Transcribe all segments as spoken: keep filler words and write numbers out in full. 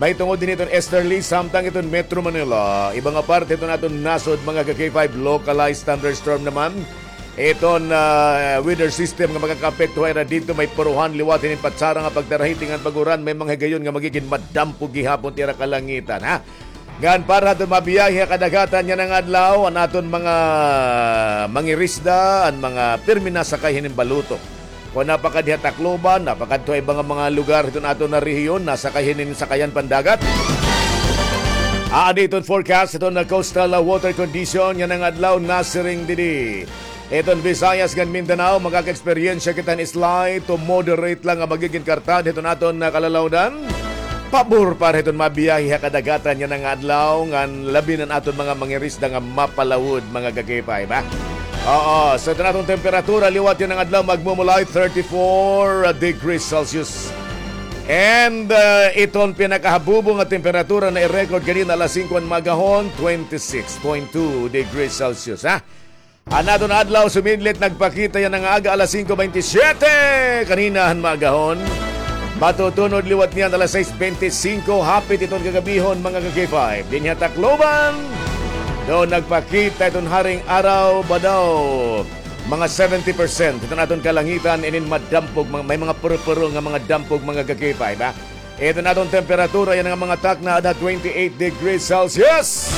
Mahitungod hini iton easterly, samtang iton Metro Manila, iba nga parte hiton aton nasod, mga ka-K five, localized thunderstorm naman. Iton, ah, weather system nga makakaapekto ha ira didto, may puruhan liwat hinin patsara nga pagtarahiti ngan pag-uran, may mga higayon nga magigin madampog gihapon it ira kalangitan, ha? Ngan para hadton mabiyahe ha kadagatan yana nga adlaw, an aton mga mangirisda, an mga pirmi nasakay hinin balutok. Kon napakadto ha Tacloban, napakadto ha iba nga mga lugar hiton aton nga rehiyon, nasakay hinin sakayan pandagat. Aadi iton forecast hiton nga coastal, ah, water condition yana nga adlaw, nasiring didi. Iton Visayas ngan Mindanao, makaka-eksperyensya kita hin slight to moderate lang nga magigin kartad hiton aton nga kalalawdan. Pabor para hiton mabiyahe ha kadagatan yana nga adlaw, ngan labi na an aton mga mangirisda nga mapalawod, mga ka-K five, ha? Oo, so iton aton temperatura liwat yana nga adlaw, magmumulay thirty-four degrees Celsius. And, uh, iton pinakahabubo nga temperatura na i-record ganina alas singko han maagahon, twenty-six point two degrees Celsius, ha? An aton adlaw sumidlit nagpakita yana nga aga alas singko bente siyete kanina han maagahon. Matutunod liwat niyan alas sais bente singko, hapit iton kagabihon, mga ka-K five. Dinhi ha Tacloban, daw nagpakita iton haring araw ba daw mga seventy percent iton aton kalangitan, inin madampog, mga, may mga puro-puro nga mga dampog, mga ka-K five, ha? Iton aton temperatura yana nga mga takna ada twenty-eight degrees Celsius.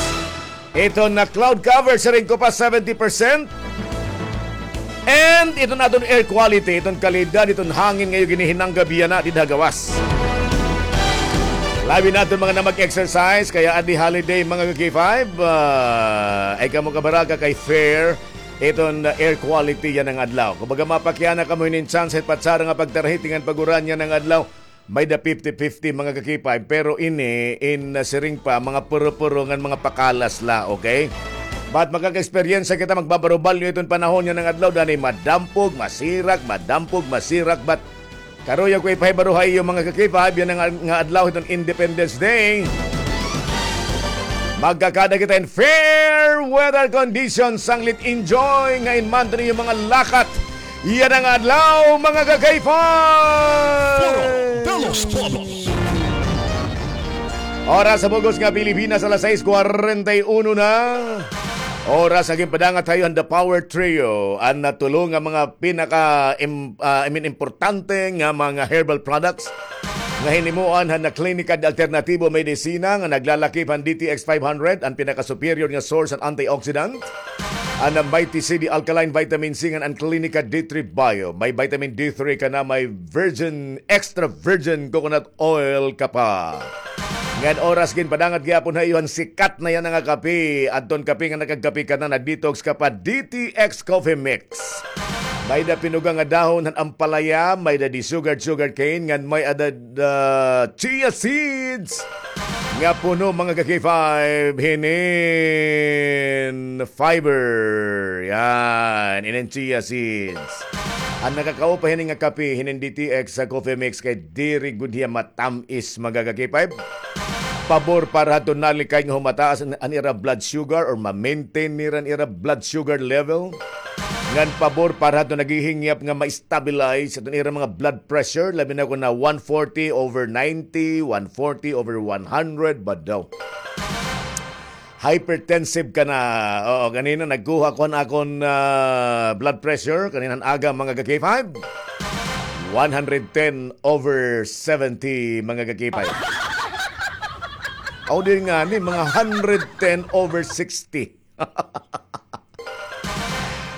Iton nga cloud cover, siring ko pa, seventy percent. And iton aton air quality, iton kalidad, iton hangin nga iyo ginihinanggab yana dida ha gawas. Labi na iton mga na mag-exercise, kay adi holiday, mga ka-K five, ah, ay kamo kabaraka kay fair iton air quality yana nga adlaw. Kumbaga, mapakiana kamo hinin chance hit patsara nga pagtarahiti ngan pag-uran yana nga adlaw. May-da fifty fifty, mga ka-K five, pero ini in, uh, siring pa, mga puro-puro ngan mga pakalas la, okay? But makaka-eksperyensya kita, magbabarubalyo iton panahon yana nga adlaw, danay madampog, masirak, madampog, masirak, but karuyag ko ipahibaro ha iyo, mga ka-K five, yana nga, nga adlaw hiton Independence Day. Magkakada kita in fair weather conditions, sanglit enjoy nga in man iyo mga lakat yana nga adlaw, mga ka-K five! Foro de los Pueblos. Oras ha bug-os nga Pilipinas, alas sais kwarenta y uno na. Oras nga ginpadangat ha iyo han The Power Trio, an, ah, tulo nga mga pinaka im-, ah, I mean, importante nga mga herbal products nga hinimoan han Klinika de Alternatibo Medicina nga naglalakip han D T X five hundred, an pinaka-superior nga source han antioxidant. An Mighty C D Alkaline Vitamin C ngan an Klinika D three Bio. May vitamin D three ka na, may virgin, extra virgin coconut oil ka pa. Ngan oras ginpadangat gihapon ha iyo han sikat na yana nga kape. Adton kape nga nakagkape ka na, nag-detox ka pa, D T X Coffee Mix. May-da pinuga nga dahon han ampalaya, may-da di sugar, sugar cane, ngan may-ada, ah, chia seeds nga puno, mga ka-K five, hinin fiber. Yan, inin chia seeds. An nakakaupa hini nga kape, hinin D T X sa coffee mix, kay diri gud hiya matam-is, mga ka-K five. Pabor para hadton nalikay nga humataas an, an ira blood sugar or ma-maintain nira an ira blood sugar level. Ngan pabor para hadton naghihingyap nga ma-stabilize hadton ira mga blood pressure, labi na kon na one forty over ninety, one forty over one hundred, badaw. Hypertensive ka na. Oo, ganina nagkuha ko han akon, ah, blood pressure, kaninang aga, mga ka-K five. One hundred ten over seventy, mga ka-K five. Aw, di ngani, mga hundred ten over sixty.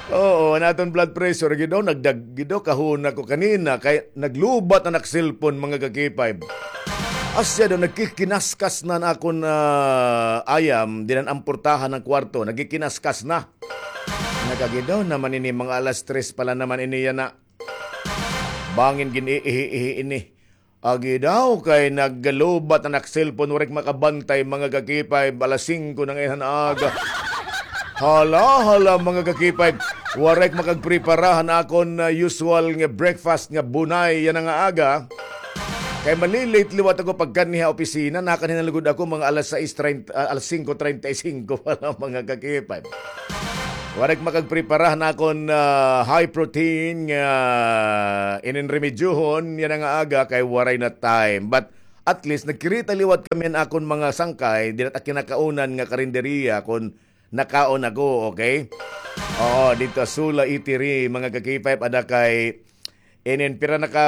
Oo, an aton blood pressure, gid daw, nagdag-, gid daw, kahuna ko kanina, kay naglubat an ak cellphone, mga ka-K five. Asya daw, nagkikinaskas na an akon, ah, ayam, dinan an portahan han kwarto, nagkikinaskas na. Nakagidaw naman ini, mga alas tres pa la naman ini yana. Bangin gin-iihi-ihi ini. Agi daw kay naglubat an ak cellphone, waray ko makabantay, mga ka-K five, alas singko na ngay-an han aga. Hala, hala, mga ka-K five, waray ko makagprepara han akon, ah, usual nga breakfast nga bunay yana nga aga. Kay mali-late liwat ako pagkanhi ha opisina, nakakanhi na lugod ako mga alas sais treinta, ah, alas singko treinta y cinco pa la, mga ka-K five. Waray ko makagprepara han akon, ah, high protein nga inin remedyohon yana nga aga kay waray na time. But at least nagkirita liwat kami han akon mga sangkay, dida ha kinakaunan nga karinderiya kon nakaon ako, okay? Oo, didto ha Sula Eatery, mga ka-K five, ada kay inin pira na ka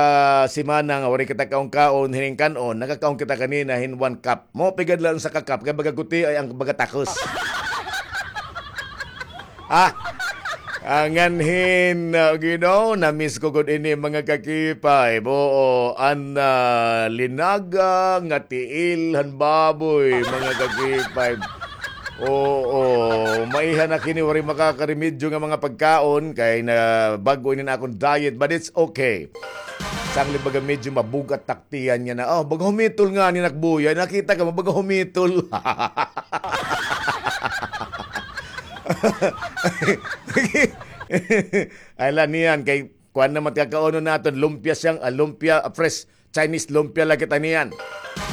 semana nga waray kita kaon-kaon, hining kan-on, nakakaon kita kanina hin one cup. Mao pa gad la an usa ka cup, kay baga gutiay an baga takos. Ah, ah, ngan hin, ah, you know, na-miss ko gud ini, mga ka-K five. Oo, an, ah, linaga nga tiil han baboy, mga ka-K five. Oo, maiha na kini, waray makakaremedyo nga mga pagkaon, kay na bag-o ini an akon diet, but it's okay. Sanglit baga medyo mabug-at tak tiyan niya na, oh, baga humitol ngani nakbuya. Nakita ka mo, baga humitol. Ay, la niyan, kay kuan naman, kakaunon naton, lumpia siyang, ah, lumpia, ah, fresh Chinese lumpia la kita niyan.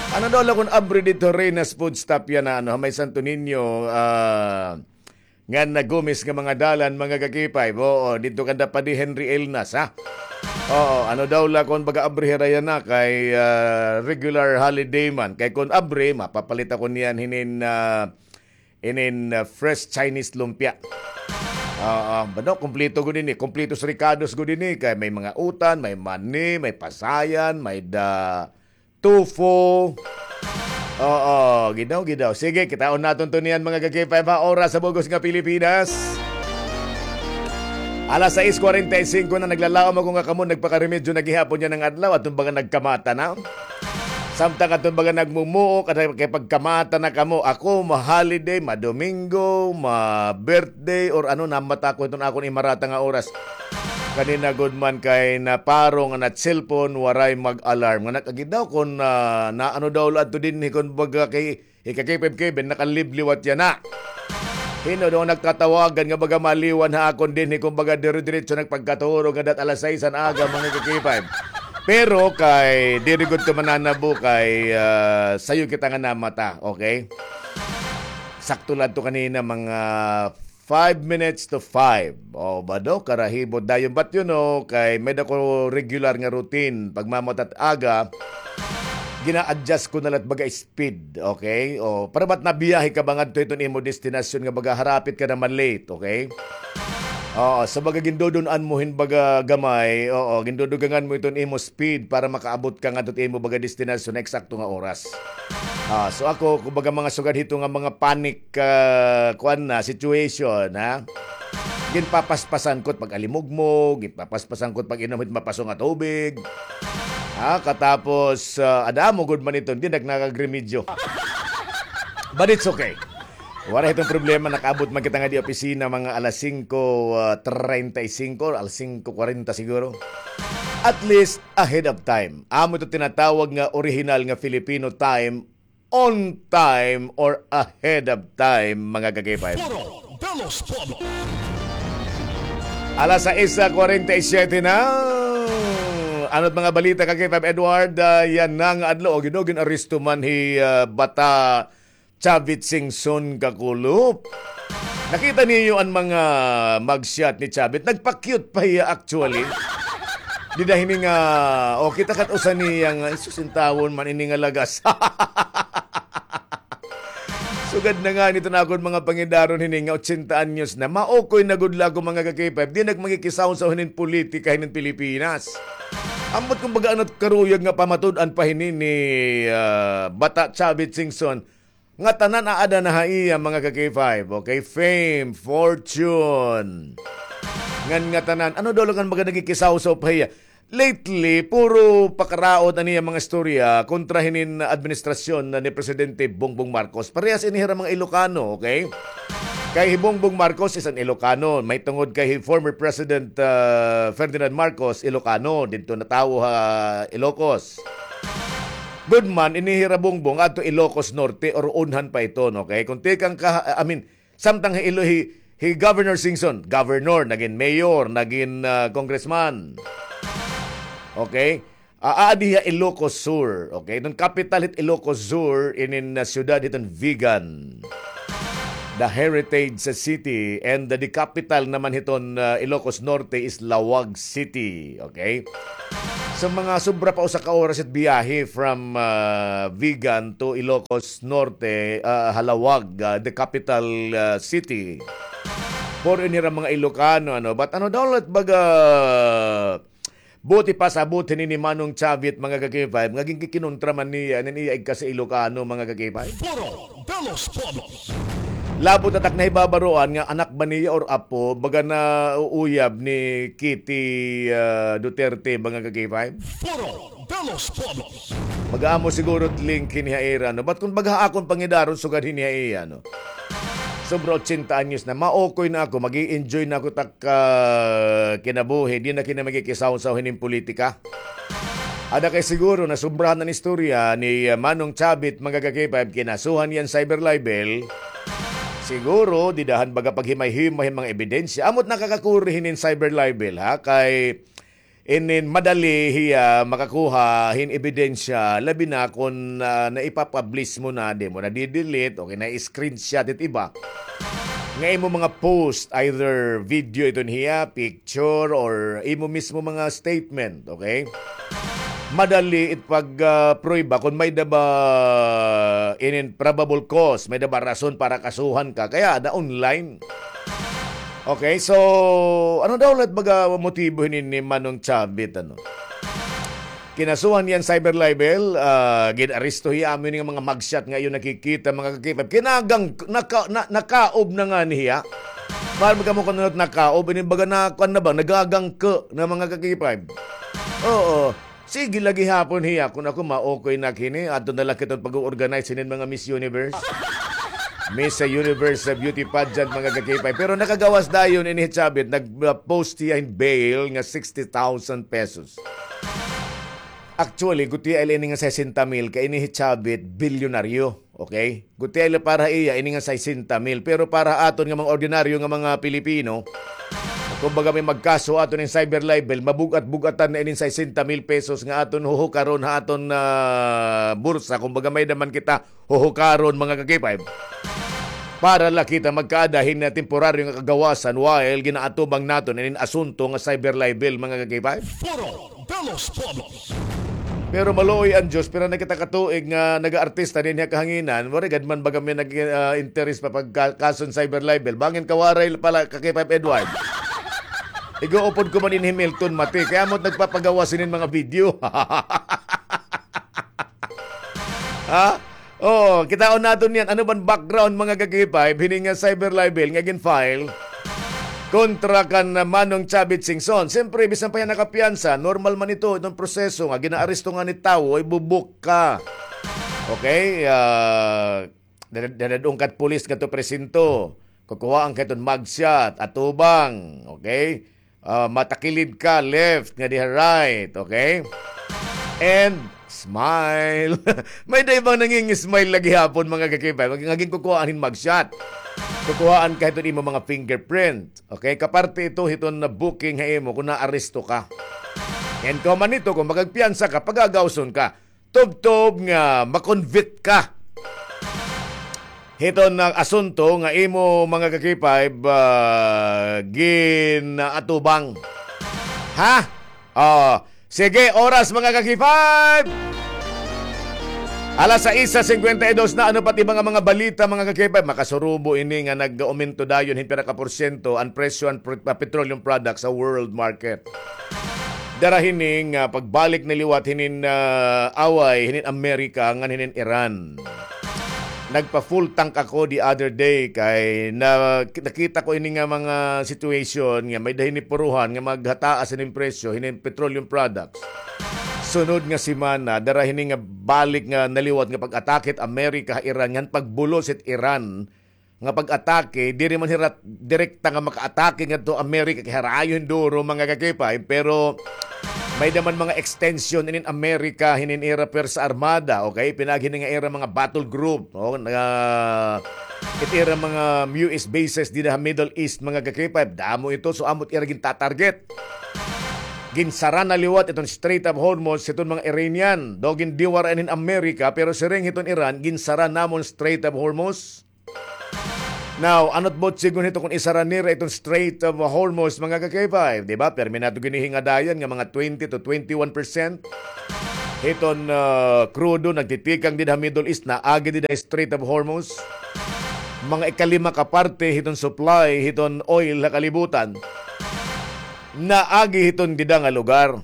Ano daw la kon abri didto, Reyna's Food Stop yana, ano, ha may Santo Niño, ah, ngan na Gomez nga mga dalan, mga ka-K five. Oo, didto kanda Padi Henry Elnas, ha? Oo, ano daw la kon baga abri hira yana kay, ah, regular holiday man. Kay kon abri, mapapalit ako niyan hinin, ah, inin, ah, fresh Chinese lumpia. Oo, bado, kompleto gud ini. Kompleto sa rekados gud ini. Kay may mga utan, may mani, may pasayan, may da, tofu. Oo, gidaw, gidaw. Sige, kitaon naton to niyan, mga ka-K five, ha, oras sa bug-os nga Pilipinas. Alas sais kwarenta y singko na, naglalaom ako nga kamo nagpakaremedyo na gihapon yana nga adlaw, aton baga nagkamata na. Samtang aton baga nagmumuok, at kay pagkamata na kamo, ako, ma-holiday, ma-Domingo, ma-birthday, or ano, namata ko hiton akon imarata nga oras. Kanina gud man kay naparo nga na-cellphone, waray mag-alarm. Nga nakagidaw kon, ah, na ano daw la adto dinhi kon baga kay hi ka-K five Kevin, nakalibliwat yana. Hin-o daw nagtatawagan nga baga maliwan ha akon dinhi kon baga dire-diretso nagpagkaturog nga dat alas sais an aga, mga ka-K five. Pero kay diri gud to mananabo kay, ah, sayo kita nga namata, okay? Sakto la adto kanina, mga five minutes to five. O, bado, karahibot dayon. But, you know, kay may-ada ko regular nga routine. Pagmamata hit aga, gina-adjust ko na la it baga speed, okay? O, para ba't nabiyahe ka ba ngadto hiton imo destinasyon nga baga harapit ka na ma-late, okay? Oo, so baga gindudun-an mo hin baga gamay, oo, gindudugangan mo hiton imo speed para makaabot ka ngadto hit imo baga destinasyon na eksakto nga oras. Ah, so ako, kumbaga mga sugad hito nga mga panic, ah, kuan na, situation, ha? Ginpapaspasan ko it pag-alimugmog, ginpapaspasan ko it pag-inom hit mapaso nga tubig. Ha? Katapos, ah, ada amo gud man iton, di nagnagremedyo. But it's okay. Waray hiton problema, nakaabot man kita ngadi opisina mga alas singko, ah, treinta y cinco, alas singko kwarenta siguro. At least, ahead of time. Amo ito tinatawag nga orihinal nga Filipino time, on time or ahead of time, mga ka-K five. Foro de los Pueblos. Alas sais kwarenta y siyete na. Ano't mga balita, ka-K five Edward? Ah, yana nga adlaw, o, gin-, gin-aresto man hi, ah, Bata Chavit Singson, kakulop. Nakita niyo an mga mugshot ni Chavit? Nagpa-cute pa hiya actually. Dida hini nga, o, kita kat usa niya nga, "Ay, sus, intawon man ini nga lagas." Sugad na ngani iton akon mga pangidaron hini nga otsenta anyos na. Maukoy na gud la ako, mga ka-K five. Di na ak makikisawsaw hinin politika hinin Pilipinas. Ambot kon baga ano't karuyag nga pamatud-an pa hini ni, ah, Bata Chavit Singson. Ngatanan aada na ha iya, mga ka-K five, okay? Fame, fortune. Ngan ngatanan, ano daw la kan baga nakikisawsaw pa hiya? Lately, puro pakaraot an iya mga istorya kontra hinin administrasyon na ni Presidente Bongbong Marcos. Parehas ini hira mga Ilocano, okay? Kay hi Bongbong Marcos is an Ilocano. Mahitungod kay hi former President, ah, Ferdinand Marcos, Ilocano. Didto natawo ha Ilocos. Gud man, ini hira Bongbong adto Ilocos Norte or unhan pa iton, okay? Kon tikang ka, I mean, samtang hi Ilo-, hi, hi Governor Singson, governor, nagin mayor, nagin, ah, congressman. Okay? Ah, aadi ha Ilocos Sur, okay? Iton kapital hit Ilocos Sur, inin, ah, syudad hiton Vigan. The heritage city, and the, the capital naman hiton, ah, Ilocos Norte is Laoag City, okay? Sa mga sobra pa usa ka oras it biyahe from, ah, Vigan to Ilocos Norte, ah, Halawag, ah, the capital, ah, city. For inira mga Ilocano, ano, but ano daw, let baga, buti pa sa buti ni, ni Manong Chavit, mga ka-K five, nga ginkikinontra man niya, nin iya igka sa Ilocano, mga ka-K five. Foro de los Pueblos. Labot atak na hibabaroan nga anak ba niya or apo, baga na uuyab ni Kitty, ah, Duterte, mga ka-K five. Foro de los Pueblos. Mag-aamo siguro link hini ha ira, no? But kung baga akon pangidaron, sugad hini ha iya, no? Sobra ochenta anyos na, maokoy na ako, mag-i-enjoy na ako tak, ah, kinabuhi, di na kina magikisawsaw hining politika. Ada kay siguro na sobrahan an istorya ni, ah, Manong Chavit, mga ka-K five, kinasuhan hiya hin cyber libel. Siguro, didahan baga paghimay-himay hin mga ebidensya. Amot nakakakuri hinin cyber libel, ha? Kay inin madali hiya makakuha hin ebidensya, labi na kon, ah, naipapublish mo na, di mo na di-delete, okay, na-screenshot it iba. Nga imo mga post, either video iton hiya, picture, or imo mismo mga statement, okay? Madali it pag, ah, prueba kon may-ada ba inin probable cause, may-ada ba rason para kasuhan ka. Kay ada online. Okay, so, ano daw ulit baga motibo hinin ni Manong Chavit, ano? Kinasuhan hiya hin cyber libel, ah, gin-aresto hiya, amo ini nga mga mugshot nga iyo nakikita, mga ka-K five. Kinagang, naka-, na-, nakaob na ngani hiya. Mahal man kamo kon ano it nakaob, ini baga na, kuan na ba, nagagangke na, mga ka-K five. Oo. Sige la gihapon hiya, kon ako maokoy na ak hini, adto na la kita pag-o-organize hinin mga Miss Universe. Miss Universe sa beauty pageant, mga ka-K five. Pero nakagawas dayon ini hi Chavit, nag-post hiya hin bail nga sixty thousand pesos. Actually, gutiay la ini nga sesenta mil, kay ini hi Chavit, bilyonaryo. Okay? Gutiay la para ha iya, ini nga sesenta mil. Pero para ha aton nga mga ordinaryo nga mga Pilipino, kumbaga may magkaso aton hin cyber libel, mabug-at-bug-atan na inin sesenta mil pesos nga aton huhukaron ha aton, ah, bursa. Kumbaga may-ada man kita huhukaron, mga ka-K five. Para la kita magkaada hin, ah, temporaryo nga kagawasan while ginaatubang naton inin asunto nga cyber libel, mga ka-K five. Foro de los Pueblos. Pero maluoy an Diyos, pira na kita ka tuig nga nagaartista dinhi ha kahanginan, waray gad man baga may nag, ah, interes pa pagka-, kason cyber libel. Bangin ka waray pala ka-K five Edward. Ig-uupod ko man in Hamilton, mati. Kay amo't nagpapagawas hinin mga video. Ha? Oh, kitaon naton yan. Ano ban background, mga ka-K five, hini nga cyber libel nga gin-file kontra kan, ah, Manong Chavit Singson? Siyempre, bisan pa hiya nakapiyansa, normal man ito, itong proseso nga, ginaaresto ngani it tawo, ibubuk ka. Okay? Ah, dad-, dadad-on ka hit pulis ngadto presinto. Kukuhaan ka hiton mugshot, atubang. Okay? Ah, mata kilid ka, left, ngadi ha right, okay? And smile. May-ada ibang nangingismile la gihapon, mga ka-K five. Nga ginkukuhaan hin mugshot. Kukuhaan ka hiton imo mga fingerprint. Okay? Kaparte ito hiton na booking ha imo kon naaresto ka. And kauman nito, kon makagpiyansa ka, pagagawson ka. Tubtob nga ma-convict ka hiton nga asunto nga imo, mga ka-K five, ah, ginaatubang. Ha? Oh, sige, oras, mga ka-K five. Alas sais cincuenta y dos na, ano pa it iba nga mga balita, mga ka-K five? Makasurubo ini nga nag-aumento dayon hin pira ka porsyento an presyo han pr-, ah, petroleum products sa world market. Dara hini nga pagbalik na liwat hinin, ah, away hinin Amerika ngan hinin Iran. Nagpa-full tank ako the other day kay na-, nakita ko ini nga mga situation nga may-ada hini puruhan nga maghataas hinin presyo hinin petroleum products. Sunod nga semana, dara hini nga balik nga naliwat nga pag-atake hit Amerika ha Iran, ngan pagbulos hit Iran nga pag-atake, diri man hira direkta nga makaatake ngadto Amerika, kay harayo hin duro, mga ka-K five, pero may-ada man mga extension inin Amerika hinin ira pwersa armada, okay? Pinaagi hini nga ira mga battle group, no? Nga it ira mga U S bases dida ha Middle East, mga ka-K five, damo ito, so amo't ira gintatarget. Ginsara na liwat iton Strait of Hormuz hiton mga Iranian, daw gindiwara hin Amerika, pero siring hiton Iran, ginsara namon Strait of Hormuz. Now, ano't butsingon hito kon isara nira iton Strait of Hormuz, mga ka-K five, di ba? Pirmi naton ginhingadayan nga mga twenty to twenty-one percent hiton, ah, krudo nagtitikang dida ha Middle East, naagi dida ha Strait of Hormuz. Mga ikalima ka parte hiton supply hiton oil ha kalibutan, naagi hiton dida nga lugar.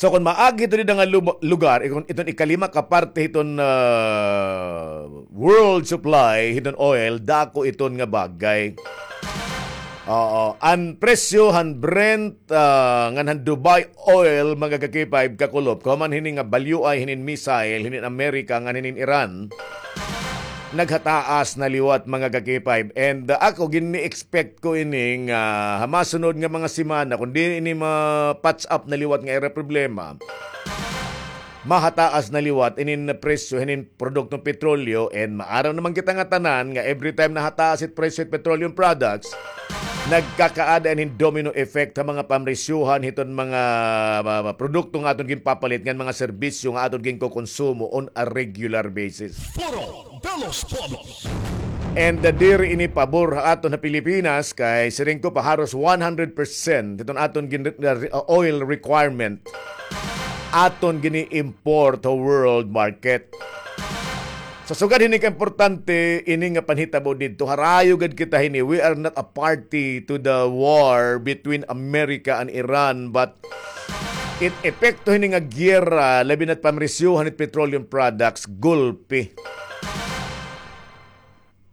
So, kon maagi hito dida nga lub-, lugar, ikon-, iton ikalima ka parte hiton, ah, world supply hiton oil, dako iton nga bagay. Oo, an presyo han Brent, ah, ngan han Dubai oil, mga ka-K five, kakulop, kahuman hini nga balyuay hinin missile hinin Amerika ngan hinin Iran, naghataas na liwat, mga ka-K five. And, ah, ako, gini-expect ko ini nga ha masunod nga mga semana, kon diri ini ma-patch up na liwat nga ira problema, mahataas na liwat inin presyo hinin produktong petrolyo, and maaram naman kita nga tanan nga every time nahataas it presyo hit petroleum products, nagkakaada ini hin domino effect ha mga pamresyohan hiton mga, ah, produkto nga aton ginpapalit ngan mga serbisyo nga aton ginkokonsumo on a regular basis. Foro de los Pueblos. And, uh, diri ini pabor ha aton ha Pilipinas, kay siring ko pa, haros one hundred percent hiton aton gin-, uh, oil requirement aton gini-import ha world market. Sa sugad hini kaimportante ini nga panhitabo didto, harayo gad kita hini. We are not a party to the war between America and Iran, but it epekto hini nga giyera, labi na't pamresyohan hit petroleum products, gulpi.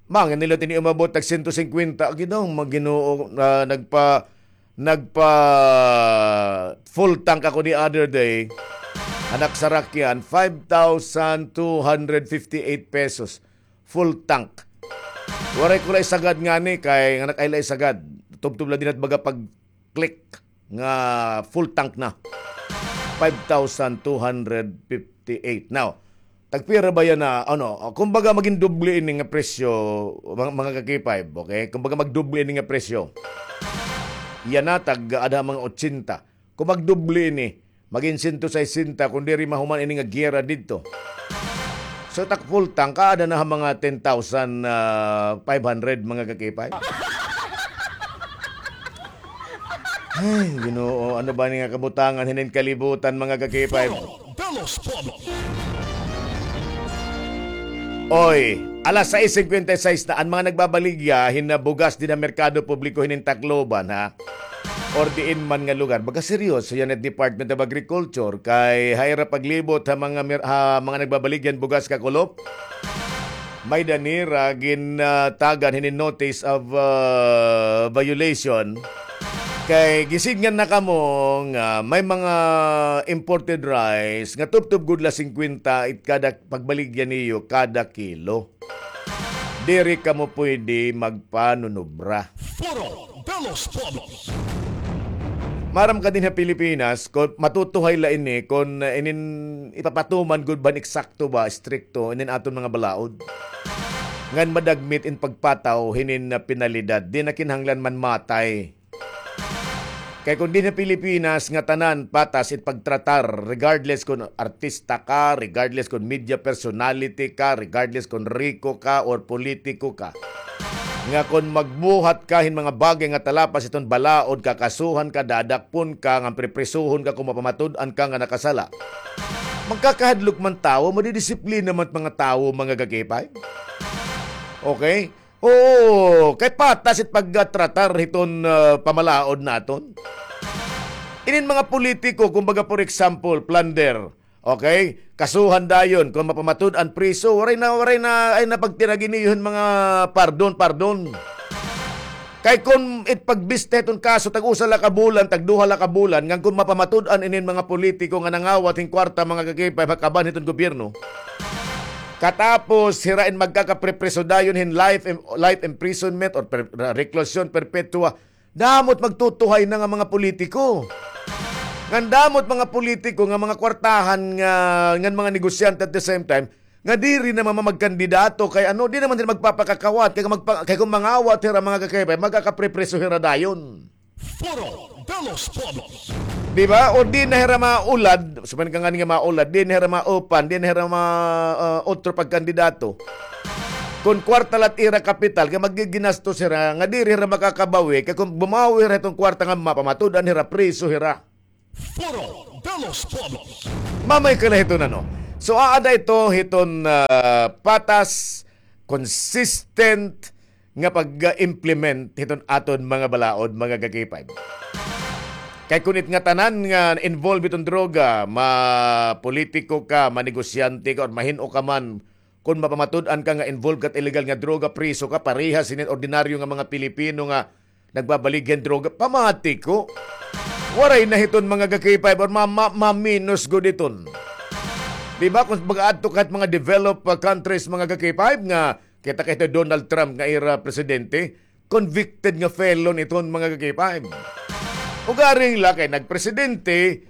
Mangin nila tini umabot tag sento singkwenta, Ginoo, mga Ginoo, ah, nagpa-, nagpa-full tank ako the other day. Anak sarakyan, five thousand two hundred fifty-eight pesos. Full tank. Waray ko la isagad ngani, kay nga nakaila isagad. Tubtob la dinhi hit baga pag-click nga full tank na. Five thousand two hundred fifty-eight. Now, tagpira ba yana, ano, kumbaga magin doble ini nga presyo, mga, mga ka-K five, okay? Kumbaga magdoble ini nga presyo. Yana, tag-aada mga ochenta. Kung magdoble ini, magin sento sesenta, kung diri mahuman ini nga giyera didto. So, tak full tank, aada na ha mga ten thousand, ah, five hundred, mga ka-K five. Ay, Ginoo, ano ba ini nga kabutangan hinin kalibutan, mga ka-K five? Foro de los Pueblos. Oy, alas sais singkwenta y sais na, an mga nagbabaligya hin bugas dinhi ha merkado publiko hinin Tacloban, ha? Or diin man nga lugar. Baga seryoso yana it Department of Agriculture, kay ha ira paglibot ha mga mer-, ha mga nagbabaligya hin bugas kakulop, may-ada nira gin-, ah, tagan hinin notice of, ah, violation. Kay gisidngan na kamo nga may mga imported rice nga tubtob gud la singkwenta it kada pagbaligya niyo kada kilo. Diri kamo pwede magpanunubra. Foro de los Pueblos. Maaram ka dinhi ha Pilipinas, kon matutuhay la ini, kon, uh, inin ipapatuman gud ba, eksakto ba, estrikto, inin aton mga balaod. Ngan madagmit in pagpataw hinin, uh, penalidad. Di na kinahanglan manmatay. Kay kon dinhi ha Pilipinas, ngatanan patas it pagtratar, regardless kon artista ka, regardless kon media personality ka, regardless kon riko ka or politiko ka, nga kon magbuhat ka hin mga bagay nga talapas hiton balaod, kakasuhan ka, dadakpon ka, ngan prepresohon ka kon mapamatud-an ka nga nakasala. Magkakahadlok man tawo, madidisiplina man mga tawo, mga ka-K five. Okay? Oo, kay patas it pagtratar hiton, ah, pamalaod naton. Inin mga politiko, kumbaga, for example, plunder, okay? Kasuhan dayon, kon mapamatud-an, priso, waray na, waray na, ay na pagtiragi niyo hin mga pardon, pardon. Kay kon it pagbista hiton kaso, tag-usa la ka bulan, tag-duha la ka bulan, ngan kon mapamatud-an inin mga politiko nga nangawat hin kwarta, mga ka-K five, ha kaban hiton gobyerno, katapos hira in magkakaprepriso dayon hin life im-, life imprisonment or per-, reclusion perpetua, damo it magtutuhay na nga mga politiko. Ngan damo it mga politiko nga mga kwartahan nga, ngan mga negosyante at the same time, nga diri na mamagkandidato kay ano, di naman hira magpapakakawat, kay magpa-, kay kon mangawat hira, mga ka-K five, magkakaprepriso hira dayon. Foro de los Pueblos. Di ba? O di na hira maulad, sabi ka ngani nga maulad, di na hira maupan, di na hira ma-, ah, otro pagkandidato. Kon kwarta la it ira kapital, kay maggiginastos hira, nga diri hira makakabawi, kay kon bumawi hira hiton kwarta nga mapamatud-an hira, priso hira. Foro de los Pueblos. Mamay ka la hiton ano. So, aada ito hiton, ah, patas, consistent nga pag-implement hiton aton mga balaod, mga ka-K five. Kay kon it ngatanan nga involved hiton droga, ma-politiko ka, manegosyante ka, or mahin-o ka man, kon mapamatud-an ka nga involved ka hit illegal nga droga, priso ka, parehas hinin ordinaryo nga mga Pilipino nga nagbabaligya hin droga, pamati ko. Waray na hiton mga ka-K five or ma-, ma-, maminos gud iton. Di ba? Kon mag-aadto ka hit mga developed, ah, countries, mga ka-K five, nga kita kay Donald Trump nga ira presidente, convicted nga felon iton mga ka-K five. Ugaring la kay nagpresidente,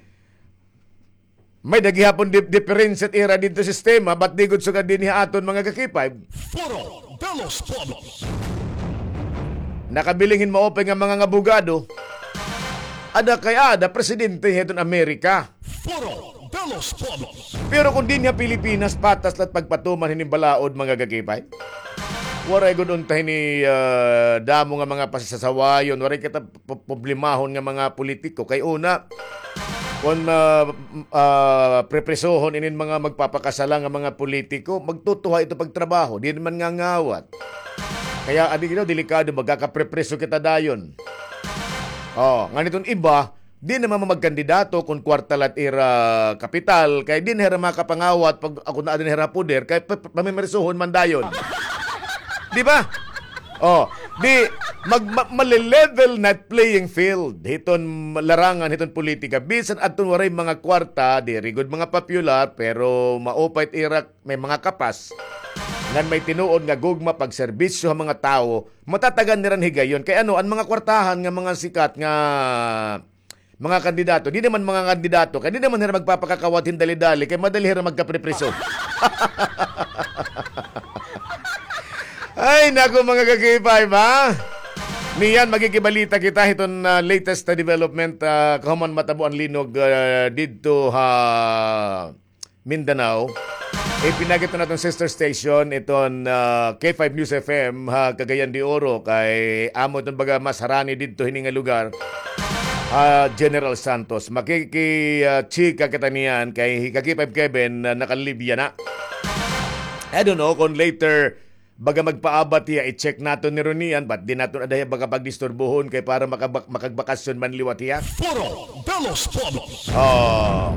may-ada gihapon dip-, diperensya it ira didto sistema, but di gud sugad dinhi ha aton mga ka-K five. Foro de los Pueblos. Nakabiling hin maupay nga mga abogado. Ada kay ada, presidente hiton Amerika. Foro de los Pueblos. Pero kon dinhi ha Pilipinas, patas la it pagpatuman hinin balaod, mga ka-K five. Waray gud unta hini, ah, damo nga mga pasasawayon, waray kita p-, problemahon nga mga politiko. Kay una, kon, ah, m-, ah, prepresohon inin mga magpapakasala nga mga politiko, magtutuha ito pagtrabaho, diri man ngangawat. Kaya, adi, you know, delikado, magkakaprepreso kita dayon. Oh, ngan iton iba, di na man magkandidato kon kwarta la it ira kapital, kay di na hira makapangawat pag ako na dinhi ha poder, kay pa-, pa-, pamimersohon man dayon. Di ba? Oh, di, mag-, ma-, male-level na it playing field hiton larangan hiton politika. Bisan adton waray mga kwarta, diri gud mga popular, pero maupay it ira, may mga kapas, ngan may tinuod nga gugma pagserbisyo ha mga tawo, matatagan nira hin higayon. Kay ano, an mga kwartahan nga mga sikat nga mga kandidato, di na man mga kandidato, kay di na man hira magpapakakawat hin dali-dali, kay madali hira magkaprepreso. Ay, naku, mga ka-K five, ha? Niyan, maghikibalita kita hiton, ah, latest na development, ah, kahuman matabo an linog, ah, didto ha Mindanao. Ipinagi iton aton sister station, iton, ah, K five News F M ha Cagayan de Oro, kay amo iton baga mas harani didto hini nga lugar, ah, General Santos. Makiki-, ah, chika kita niyan kay hi ka-K five Kevin, ah, nakalibya na. I don't know kon later baga magpaabat hiya, i-check naton ni Ronian, but di naton ada hiya baga pagdisturbohon kay para makabak-, makagbakasyon man liwat hiya. Foro de los Pueblos. Oh.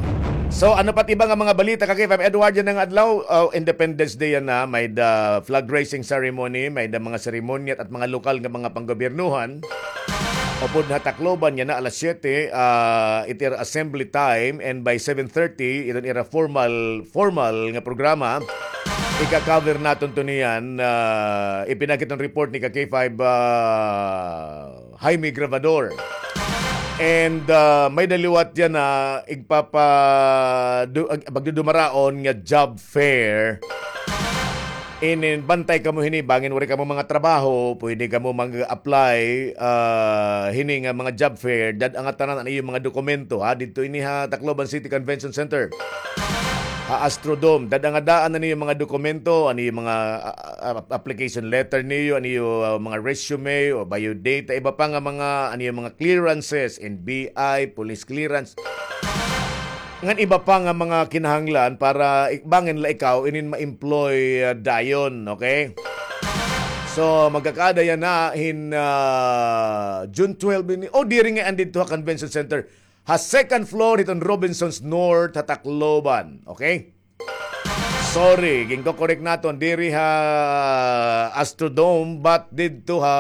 So, ano pa it iba nga mga balita, ka-K five Edward, yana nga adlaw, oh, Independence Day yana, may-ada flag raising ceremony, may-ada mga seremonya at mga lokal nga mga panggobyernohan. Upod ha Tacloban yana alas siyete, ah, it ira assembly time, and by seven thirty, iton ira formal, formal nga programa. Ika-cover naton to niyan, ah, ipinagi iton report ni ka-K five, ah, Jaime Grabador. And, ah, may-ada liwat yana, igpapa-, du-, ag-, pagdudumaraon nga job fair. Inin, bantay kamo hini, bangin waray kamo mga trabaho, pwede kamo mag-apply, ah, hini nga mga job fair, dad-a ngatanan an iyo mga dokumento, ha, didto ini ha Tacloban City Convention Center. Ha Astrodome, dad-a nga daan an iyo mga dokumento, an iyo mga, ah, ah, application letter niyo, an iyo, ah, mga resume o biodata, iba pa nga mga, an iyo mga clearances, N B I, police clearance. Ngan iba pa nga mga kinahanglan para ik-, bangin la ikaw inin ma-employ, ah, dayon, okay? So, magkakaada yana hin, ah, June twelve ini. Oh, diri ngay-an didto ha Convention Center. Ha second floor hiton Robinsons North ha Tacloban, okay? Sorry, ginko-correct naton, diri ha Astrodome, but didto ha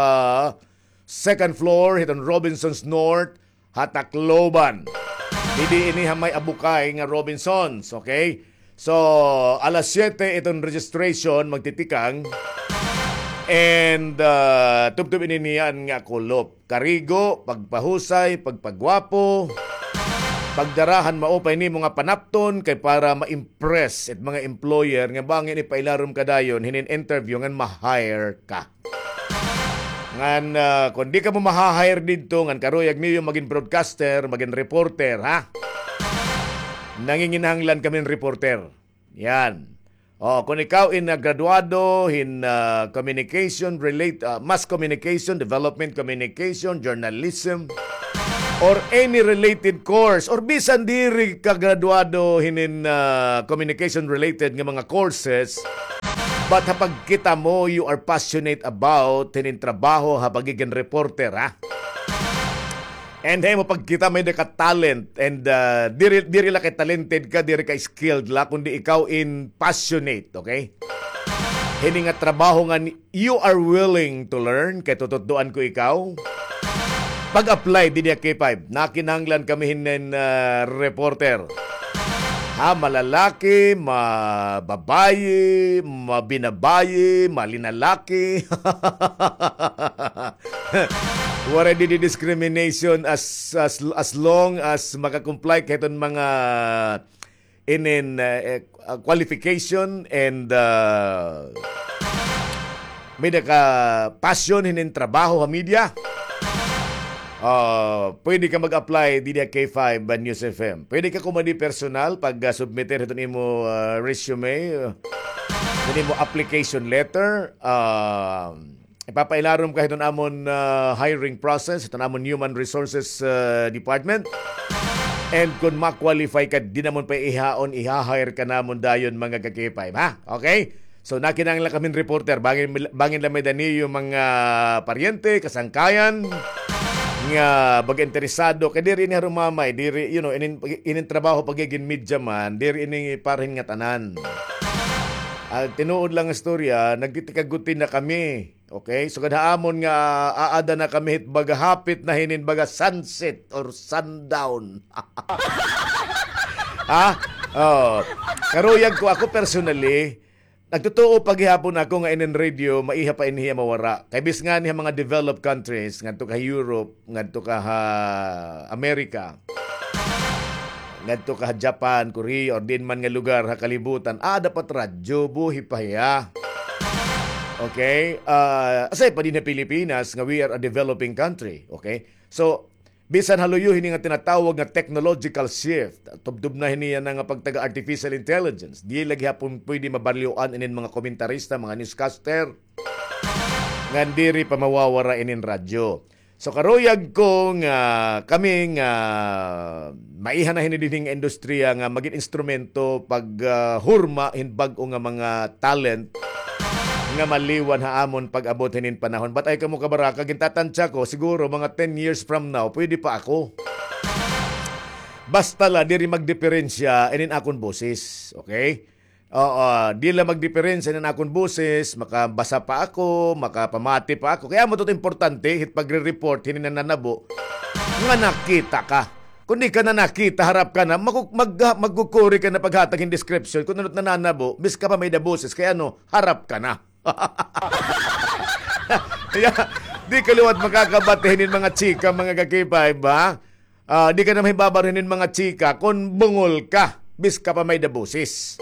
second floor hiton Robinsons North ha Tacloban. Didi ini ha may abukay nga Robinsons, okay? So, alas siyete iton registration magtitikang. And, ah, tubtob ini niyan nga kulop. Karigo, pagpahusay, pagpagwapo, pagdara han maupay nimo nga panapton kay para ma-impress it mga employer nga bangin ipailarom ka dayon hinin interview ngan ma-hire ka. Ngan, ah, kon di kamo maha-hire didto, ngan karuyag niyo magin broadcaster, magin reporter, ha? Nanginginahanglan kami hin reporter. Yan. Oh, kung ikaw in, ah, graduado hin, ah, communication relate, ah, mass communication, development communication, journalism, or any related course, or bisan diri ka graduado hinin, ah, communication related nga mga courses, but ha pagkita mo, you are passionate about hinin trabaho ha pagigin reporter, ha? And ha imo pagkita, may-ada ka talent. And, ah, diri, diri la kay talented ka, diri ka skilled la, kundi ikaw in passionate, okay? Hini nga trabaho nga ni-, you are willing to learn, kay tututdoan ko ikaw. Pag-apply didi ha K five, nakinahanglan kami hinin, ah, reporter. Ha, malalaki, mababayi, mabinabayi, malinalaki. Waray didi discrimination as, as, as long as maka-comply ka hiton mga inin, eh, eh, ah, qualification and, ah, may-ada ka passion hinin trabaho ha media. Ah, pwede ka mag-apply didi ha K five News F M. Pwede ka kumadi personal pag, ah, submit hiton imo, ah, resume, ah, hiton imo application letter. Ah, ipapailarom ka hiton amon, ah, hiring process, hiton amon human resources, ah, department. And kung ma-qualify ka, diri namon pa ihaon, iha-hire ka namon dayon, mga ka-K five, ha? Okay? So, nakinahanglan kami hin reporter, bangin, bangin la may-ada niyo mga paryente, kasangkayan, nga baga interesado, kay diri ini ha rumamay, diri, you know, inin, inin trabaho pagigin media man, diri ini para hin ngatanan. Ah, tinuod lang nga istorya, nagtitikaguti na kami. Okay? Sugad ha amon nga aada na kami hit baga hapit na hinin baga sunset or sundown. Ha? Oh. Karuyag ko, ako personally, nagtutuo pa gihapon ako nga inin radio, maiha pa ini hiya mawara. Kay bisan ngani ha mga developed countries, ngadto ka Europe, ngadto ka ha America, ngadto ka ha Japan, Korea, or diin man nga lugar ha kalibutan, ah, dapat radyo, buhi pa hiya. Okay? Ah, aside pa dinhi ha Pilipinas, nga we are a developing country. Okay? So, bisan ha luyo hini nga tinatawag nga technological shift, tubtob na hini yana nga pagtaga artificial intelligence, di la gihapon pwede mabalyoan inin mga komentarista, mga newscaster, ngan diri pa mawawara inin radyo. So, karuyag ko nga kami nga maiha na hini dinhi nga industriya nga magin instrumento pag, ah, hurma hin bag-o nga mga talent nga maliwan ha amon pag-abot hinin panahon. But ay kamo kabaraka, gintatantya ko, siguro mga ten years from now, pwede pa ako. Basta la, diri magdiperensya inin akon boses, okay? Oo, di la magdiperensya inin akon boses, makabasa pa ako, makapamati pa ako. Kay amo ito importante, hit pagre-report, hinin nananabo, nga nakita ka. Kung di ka na nakita, harap ka na, mag-, mag-, magkukuri ka na paghatag hin description, kung ano it nananabo, bis ka pa may-ada boses, kay ano, harap ka na. Kaya, di ka liwat makakabati hinin mga chika, mga ka-K five, ha? Ah, di ka na mahibabaro hinin mga chika kon bungol ka, bis ka pa may-ada boses.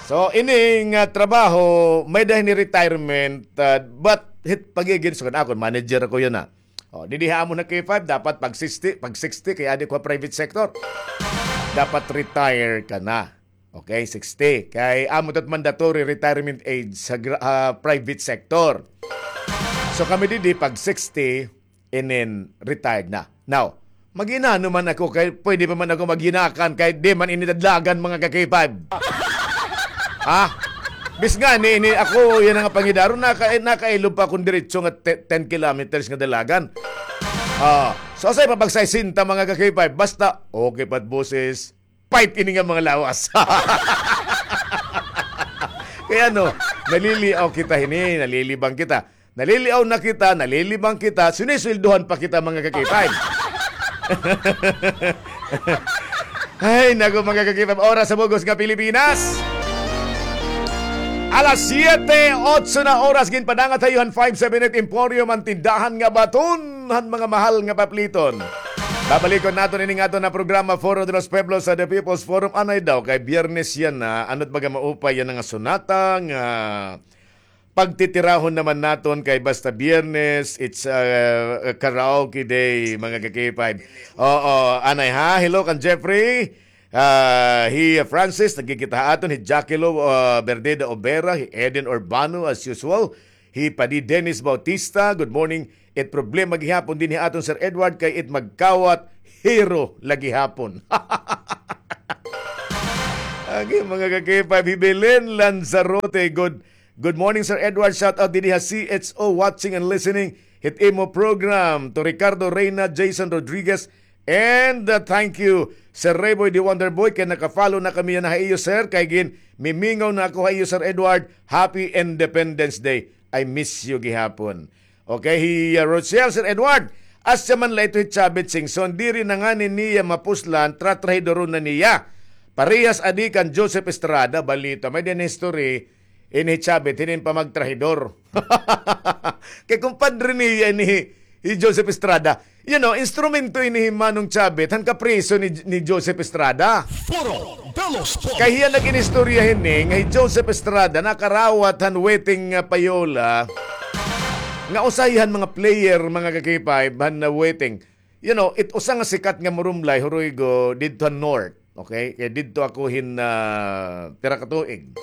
So, ini nga trabaho, may-ada hini retirement, ah, but hit pagigin, so, akon, manager ako yana. Oh, didi ha amon ha K five, dapat pag sixty, pag sixty, kay adi ko ha private sector. Dapat retire ka na. Okay, sixty. Kay amo ito it mandatory retirement age sa gra-, ah, private sector. So kami didi pag sixty, and then retired na. Now, mag-inano man ako kay pwede pa man ako magyinakan kay di man ini dadlagan, mga ka-K five. Ha? Bis nga ni, ni ako, yana nga pangidaro, naka-, nakailob pa akon diretso nga te-, ten kilometers nga dalagan. Ah, so asay pa pag sesenta, mga ka-K five, basta okay pa it boses, pait ini nga mga lawas. Kay ano, naliliaw kita hini, nalilibang kita. Naliliaw na kita, nalilibang kita, sinisweldohan pa kita, mga ka-K five. Ay, naku, mga ka-K five, oras sa bug-os nga Pilipinas. Alas siyete, otso na oras, ginpadangat ha iyo han five seven eight Emporium, an tindahan nga baton han mga mahal nga papliton. Babalikon naton ini nga aton nga programa, Foro de los Pueblos, sa The People's Forum. Anay daw, kay Biyernes yana, ano it baga maupay yana nga sonata nga pagtitirahon naman naton kay basta Biyernes, it's, uh, a karaoke day, mga ka-K five. Oo, anay ha? Hello kan Jeffrey. Ah, hi Francis, nagkikita ha aton, hi Jackilo, ah, Berdeda Obera, hi Eden Urbano, as usual, hi Padi Dennis Bautista, good morning. It problema gihapon dinhi ha aton, Sir Edward, kay it magkawat, hero lagi hapon. Agi, mga ka-K five, hi Belen Lanzarote, good, good morning, Sir Edward. Shout out dinhi ha C H O, watching and listening hit imo program. To Ricardo Reyna, Jason Rodriguez, and, uh, thank you, Sir Rayboy the Wonder Boy, kay naka-follow na kami yana ha iyo, sir. Kay ginmimingaw na ako ha iyo, Sir Edward. Happy Independence Day. I miss you gihapon. Okay, hi, uh, Rochelle, Sir Edward. Asya man la ito hi Chavit Singson, diri na ngani niya mapuslan, tratrahidoron na niya. Parehas adi kan Joseph Estrada, balita. May din history, ini hi Chavit, hinin pa magtrahidor. Kay kumpadre niya ini hi, hi Joseph Estrada. You know, instrumento ini hi Manong Chavit, han kapriso ni, ni Joseph Estrada. Foro de los Pobres. Kay hiya nag-inistorya hini, nga hi Joseph Estrada, nakarawat han weteng, ah, payola, nga usahay han mga player, mga ka-K five, han, ah, weteng. You know, it usa nga sikat nga murumlay, Hurigo, didto han North. Okay? Kay didto ako hin, ah, pira ka tuig.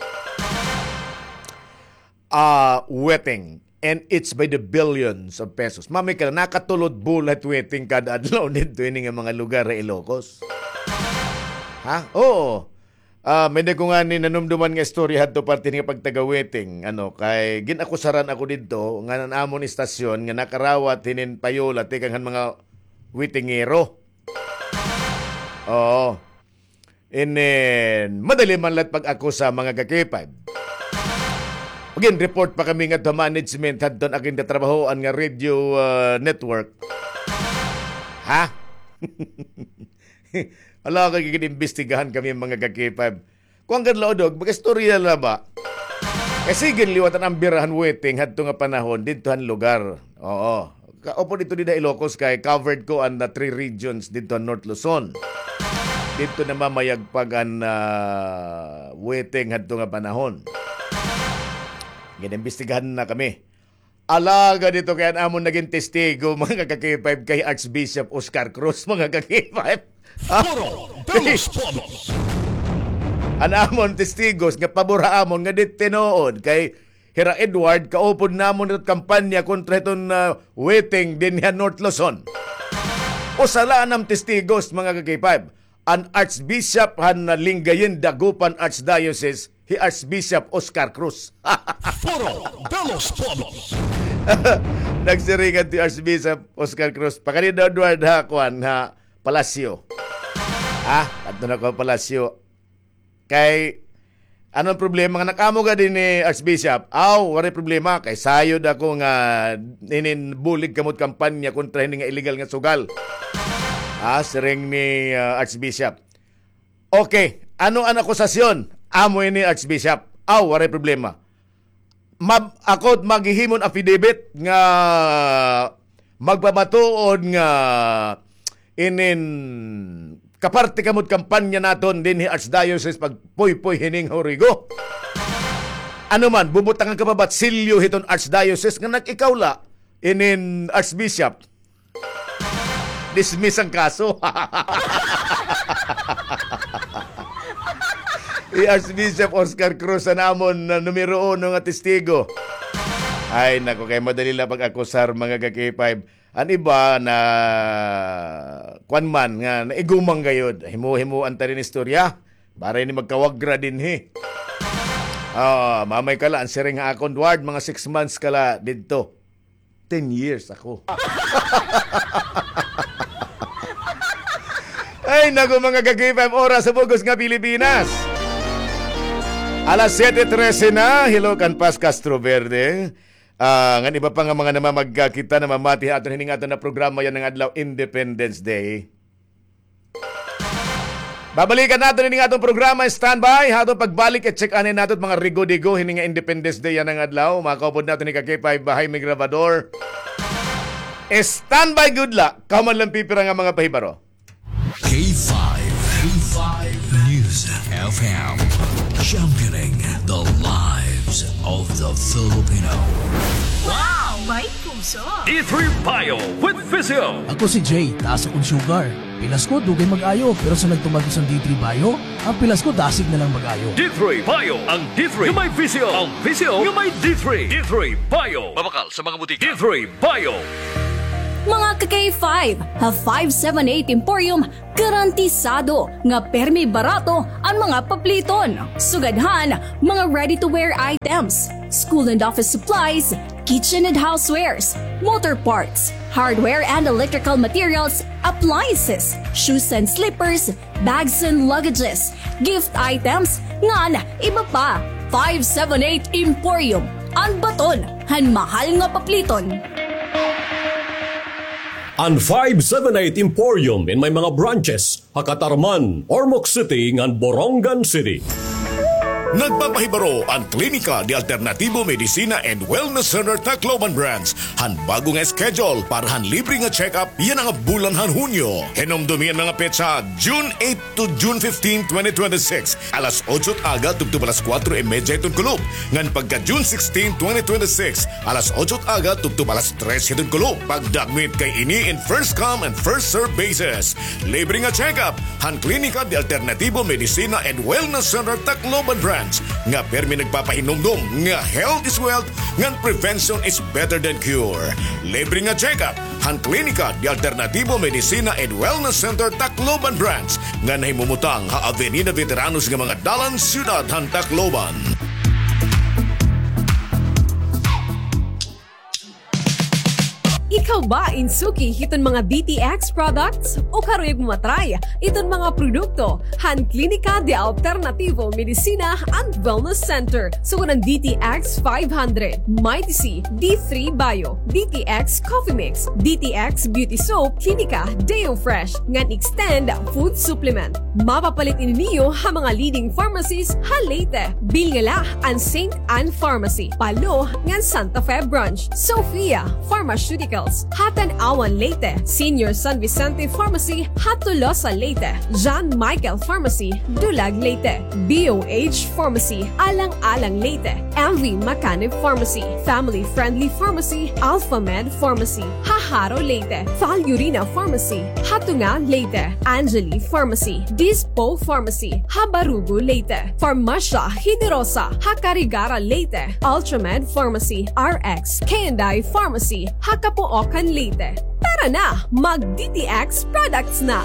Ah, weteng. And it's by the billions of pesos. Mamay ka na, nakatulod bulat weteng kada adlaw didto ini nga mga lugar ha Ilocos. Ha? Oo. Ah, may da ko ngani nanumduman nga istorya hadto parte nga pagtaga-weteng. Ano, kay gin-akusaran ako didto nga an amon istasyon nga nakarawat hinin payola tikang han mga wetengero. Oo. Inin, madali man la it pag-akusa, mga ka-K five. Gin-report pa kami ngadto ha management hadton akon tatrabahoan nga radio, ah, network. Ha? Ala, kay gin-imbestigahan kami, mga ka-K five. Kuan gad la, Odog, mag-istorya la ba? Kay sige liwat an ambira han weteng hadto nga panahon didto han lugar. Oo. Kaupod didto dida Ilocos kay covered ko an, ah, three regions didto han North Luzon. Didto namamayagpag an, ah, weteng hadto nga panahon. Gin-imbestigahan na kami. Alagad ito kay an amon nagin testigo, mga ka-K five, kay Archbishop Oscar Cruz, mga ka-K five. Foro de los Pobres. An amon testigos nga pabor ha amon nga di tinuod kay Hira Edward, kaupod namon ito kampanya kontra hiton, ah, weteng dinhi ha North Luzon. Usa la an amon testigos, mga ka-K five. An Archbishop han, ah, Lingayen, Dagupan Archdiocese, hi Archbishop Oscar Cruz. Foro de los Pobres. Nagsiring adto hi Archbishop Oscar Cruz, pakadi daw, Edward, ha kuan, ha palasyo. Ha? Adto na ko ha palasyo. Kay, ano an problema nga nag-amo gad ini, Archbishop? Aw, waray problema. Kay sayod ako nga inin bulig kamo it kampanya kontra hini nga illegal nga sugal. Ha, siring ni, ah, Archbishop. Okay, ano an akusasyon? Amo ini, Archbishop. Aw, waray problema. Mab-, ako it maghihimo hin affidavit nga magpamatuod nga inin kaparte kamo it kampanya naton dinhi Archdiocese pagpuypoy hining hurigo. Ano man, bubutangan ka pa ba it silyo hiton Archdiocese nga nag-ikaw la inin Archbishop? Dismiss an kaso. Hi Archbishop Oscar Cruz an amon, ah, numero uno nga testigo. Ay, naku, kay madali la pag-akusar, mga ka-K five. An iba na, kuan man, nga naigumang gayod. Himo-himoan ta hin istorya. Para ini magkawagra dinhi. Ah, mamay ka la, an siring ha akon, Edward, mga six months ka la didto. Ten years ako. Ay, naku, mga ka-K five, oras sa bug-os nga Pilipinas. Alas siyete trese na, hello kan Paz Castro Verde. Ah, ngan iba pa nga mga namamagkakita, namamati ha aton hini nga aton nga programa yana nga adlaw, Independence Day. Babalikan naton ini nga aton programa, standby. Ha aton pagbalik, i-check anay naton it mga rigo-digo hini nga Independence Day yana nga adlaw. Makaupod naton ni ka-K five Jaime Grabador. Standby gud la. Kahuman la an pipira nga mga pahibaro. K five, K five News F M, championing the lives of the Filipino. Wow! May puso. D three Bio with Physio. Ako si Jay, taas akon sugar. Pilas ko, dugay mag-ayo, pero sa nagtuman ko sa D three Bio, an pilas ko dasig na lang mag-ayo. D three Bio, ang D three nga may Physio, ang Physio nga may D three. D three Bio. Mabakal sa mga butika. D three Bio. Mga ka-K five, ha five seven eight Emporium, garantisado nga permi barato an mga papliton. Sugad han mga ready-to-wear items, school and office supplies, kitchen and housewares, motor parts, hardware and electrical materials, appliances, shoes and slippers, bags and luggages, gift items, ngan iba pa. Five seven eight Emporium, an baton han mahal nga papliton. An five seven eight Emporium in may mga branches ha Catarman, Ormoc City, ngan Borongan City. Nagpapahibaro an Klinika de Alternativo Medicina and Wellness Center Tacloban Branch han bago nga schedule para han libre nga check-up yana nga bulan han Hunyo. Hinumdomi an mga petsa, June eight to June fifteen, twenty twenty-six, alas otso it aga tubtob alas kuwatro y medya hiton kulop, ngan pagka June sixteen, twenty twenty-six, alas otso it aga tubtob alas tres hiton kulop. Pagdakmit kay ini in first come and first serve basis. Libre nga check-up han Klinika de Alternativo Medicina and Wellness Center Tacloban Branch, nga permi nagpapahinumdom nga health is wealth ngan prevention is better than cure. Libre nga check-up han Klinika de Alternativo Medicina and Wellness Center Tacloban Branch, nga nahimumutang ha Avenida Veteranos nga mga dalan, siyudad han Tacloban. Ikaw ba in suki hiton mga D T X products? O karuyag mo ma-try iton mga produkto han Klinika de Alternativo Medicina and Wellness Center? Sugad han D T X five hundred, Mighty C, D three Bio, D T X Coffee Mix, D T X Beauty Soap, Klinika Deo Fresh, ngan Extend Food Supplement. Mapapalit ini niyo ha mga leading pharmacies ha Leyte. Bilngala an Saint Ann Pharmacy, Palo, ngan Santa Fe Branch. Sophia Pharmaceuticals ha Tanauan, Leyte. Senior San Vicente Pharmacy ha Tolosa, Leyte. John Michael Pharmacy, Dulag, Leyte. B O H Pharmacy, Alang-alang, Leyte. M V Macanib Pharmacy, Family Friendly Pharmacy, Alpha Med Pharmacy ha Jaro, Leyte. Fal Urina Pharmacy ha Tunga, Leyte. Angeli Pharmacy, Dispo Pharmacy ha Barugo, Leyte. Farmasya Generosa ha Carigara, Leyte. Ultramed Pharmacy, R X K and I Pharmacy ha Capoocan, Leyte. Tara na, mag D T X products na!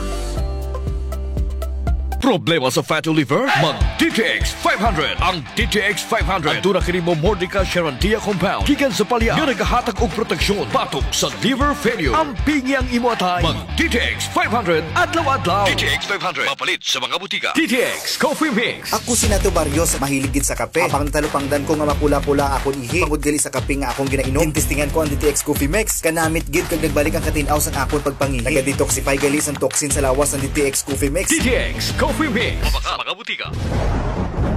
Problema sa fatty liver? Mag D T X five hundred. Ang D T X five hundred aduna kini Momordica charantia compound gikan sa palya nga nagahatag og proteksyon batok sa liver failure. Ampingi ang imo atay. Mag D T X five hundred adlaw-adlaw. D T X five hundred, mapalit sa mga butika. D T X Coffee Mix. Ako si Nato Barrios, mahilig gid sa kape. Apang natalupangdan ko nga mapula-pula akon ihi tungod gali sa kape nga akon ginainom, gintestingan ko an D T X Coffee Mix. Kanamit gid kag nagbalik an katin-aw san akon pagpangihi. Naga-detoxify gali san toxin sa lawas an D T X Coffee Mix. D T X Coffee Mix. Mabakal sa mga butika.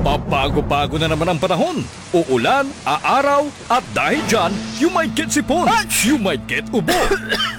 Pabago-bago na naman ang panahon. Uulan, aaraw, at dahil dyan, you might get sipon. You might get ubo.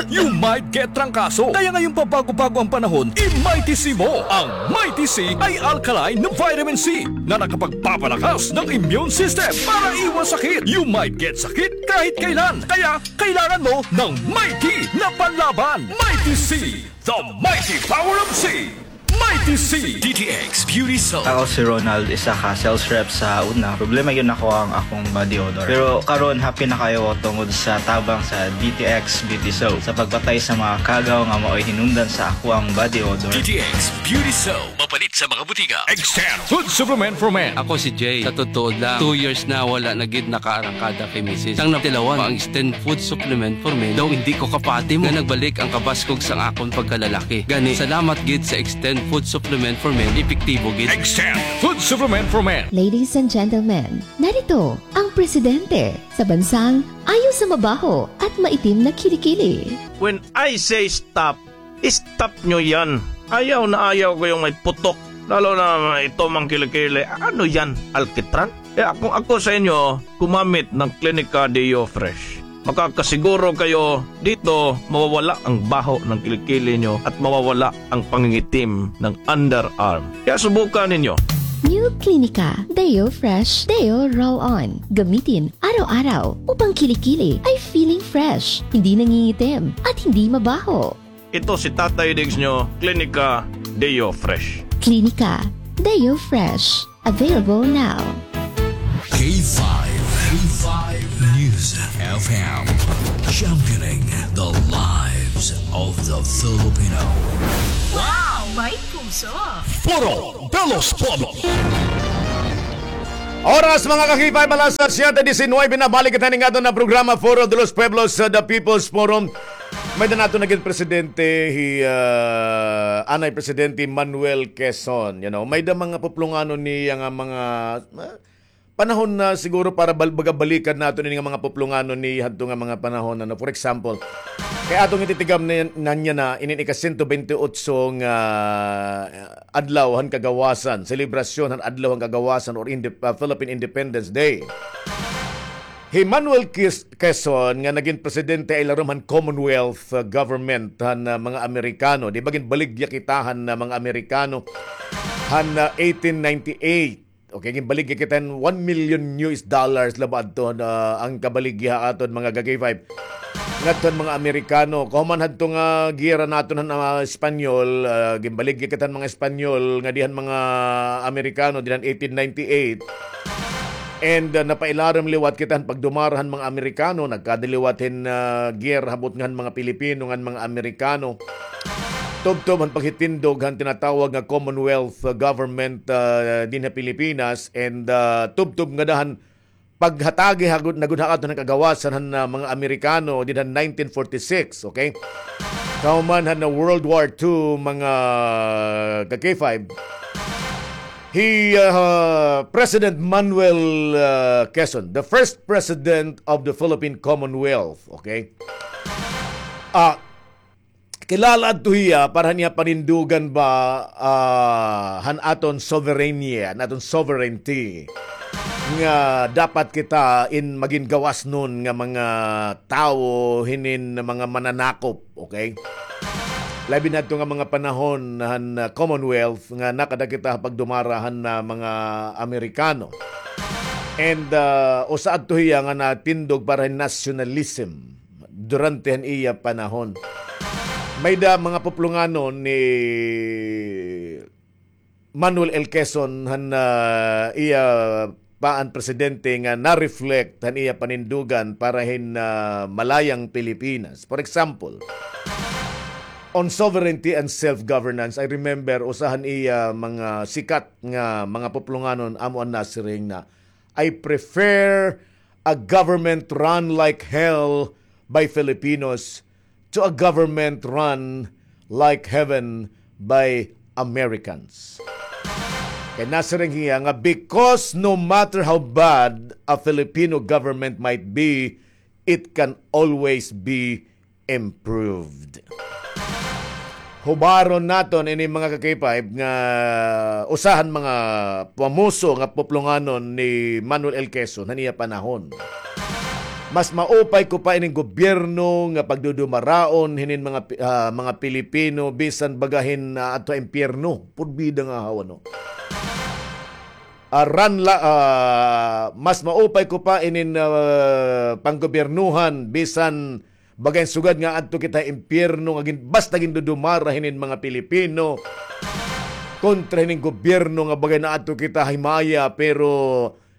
You might get trangkaso. Kaya ngayong pabago-bago ang panahon, i-Mighty C mo. Ang Mighty C ay alkaline na vitamin C na nakapagpapalakas ng immune system para iwas sakit. You might get sakit kahit kailan. Kaya kailangan mo ng Mighty na panlaban. Mighty C, the mighty power of C. Mighty C. D T X Beauty Soap. Ako si Ronald, isa ka sales rep sa una. Problema gyud nako ang akong body odor. Pero karon, happy na kaayo ako tungod sa tabang sa D T X Beauty Soap sa pagpatay sa mga kagaw nga maoy hinungdan sa akoang body odor. D T X Beauty Soap. Mapalit sa mga butika. Extend Food Supplement for Men. Ako si Jay. Sa totoo lang, two years na wala na gid nakaarangkada kay misis. Sang natilawan pa ang Extend Food Supplement for Men, daw hindi ko kapati mo nga nagbalik ang kabaskog sang akon pagkalalaki. Gani, salamat gid sa Extend Food Supplement for Men, epektibo gid. Extend Food Supplement for Men. Ladies and gentlemen, narito ang presidente sa bansang ayaw sa mabaho at maitim na kilikili. When I say stop, stop nyo yan. Ayaw na ayaw ko yung may putok. Lalo na ito mang kilikili. Ano yan? Alkitran? Kaya kung ako sa inyo, gumamit ng Klinika Deo Fresh. Makakasiguro kayo dito, mawawala ang baho ng kilikili nyo at mawawala ang pangingitim ng underarm. Kaya subukan ninyo. New Klinika Deo Fresh Deo Roll-On. Gamitin araw-araw upang kilikili ay feeling Fresh, hindi nangingitim, at hindi mabaho. Ito si Tatay Diggs nyo, Klinika Deo Fresh. Klinika Deo Fresh. Available now. K five, K five News F M, championing the lives of the Filipino. Wow! May puso! Foro de los Pueblos. Oras, mga ka-K five, alas siyete disinuybe na. Balik kita ning aton na programa, Foro de los Pueblos, uh, The People's Forum. May-ada naton nagin presidente, hi, uh, anay Presidente Manuel Quezon, you know. May-ada mga puplonganon niya nga mga, uh, panahon na siguro para bal-, baga balikan naton ini nga mga puplonganon ni hadto nga mga panahon, ano. For example, kay aton ititigam na, na niya na inin ika-sento bente otso nga, uh, adlaw han kagawasan, selebrasyon han adlaw han kagawasan or inde-, uh, Philippine Independence Day. Hi Manuel Quez-, Quezon nga nagin presidente ha ilarom han Commonwealth, uh, government han, uh, mga Amerikano. Di ba ginbaligya kita han, uh, mga Amerikano han, uh, eighteen ninety-eight? Okay, ginbaligya kita hin one million U S dollars la ba adto, uh, an kabaligya ha aton mga ka-K five. Ngadto han mga Amerikano. Kahuman hadto nga giyera naton han, uh, Espanyol, uh, ginbaligya kita han mga Espanyol ngadi han mga Amerikano dinhi han eighteen ninety-eight. And, uh, napailarom liwat kita han pagdumara han mga Amerikano, nagkadi liwat hin, uh, giyera ha butnga han mga Pilipino ngan mga Amerikano. Tubtob han paghitindog han tinatawag nga Commonwealth, uh, government, uh, dinhi ha Pilipinas, and, uh, tubtob ngada han paghatagi ha gud-, na gud ha aton han kagawasan han, uh, mga Amerikano dinhi han nineteen forty-six, okay? Kahuman han, uh, World War Two, mga ka-K five, hi, uh, President Manuel, uh, Quezon, the first president of the Philippine Commonwealth, okay? Ah, kilala adto hiya para han iya panindugan ba, ah, han aton sovereignty, han aton sovereignty. Nga dapat kita in magin gawasnon nga mga tawo hinin mga mananakop, okay? Labi na adto nga mga panahon han, ah, Commonwealth nga nakada kita ha pagdumara han, ah, mga Amerikano. And, ah, usa adto hiya nga natindog para hin nationalism durante han iya panahon. May-ada mga puplonganon ni Manuel L. Quezon han, ah, iya pa an presidente nga na-reflect han iya panindugan para hin, ah, malayang Pilipinas. For example, on sovereignty and self-governance, I remember usa han iya mga sikat nga mga puplonganon amo an nasiring na, "I prefer a government run like hell by Filipinos to a government run like heaven by Americans." Kay nasiring hiya nga, because no matter how bad a Filipino government might be, it can always be improved. Hubaron naton ini, mga ka-K five, nga usa han mga pamuso nga puplonganon ni Manuel L. Quezon han iya panahon. Mas maupay ko pa ining gobyerno nga pagdudumaraon hinin mga Pi-, ah, mga Pilipino bisan baga hin, ah, adto ha impyerno. Purbida nga hawa, no? Ah, ran la-, ah, mas maupay ko pa inin, ah, panggobyernuhan bisan baga hin sugad nga adto kita ha impyerno nga gin-, basta gindudumara hinin mga Pilipino kontra hinin gobyerno nga baga naadto kita ha himaya, pero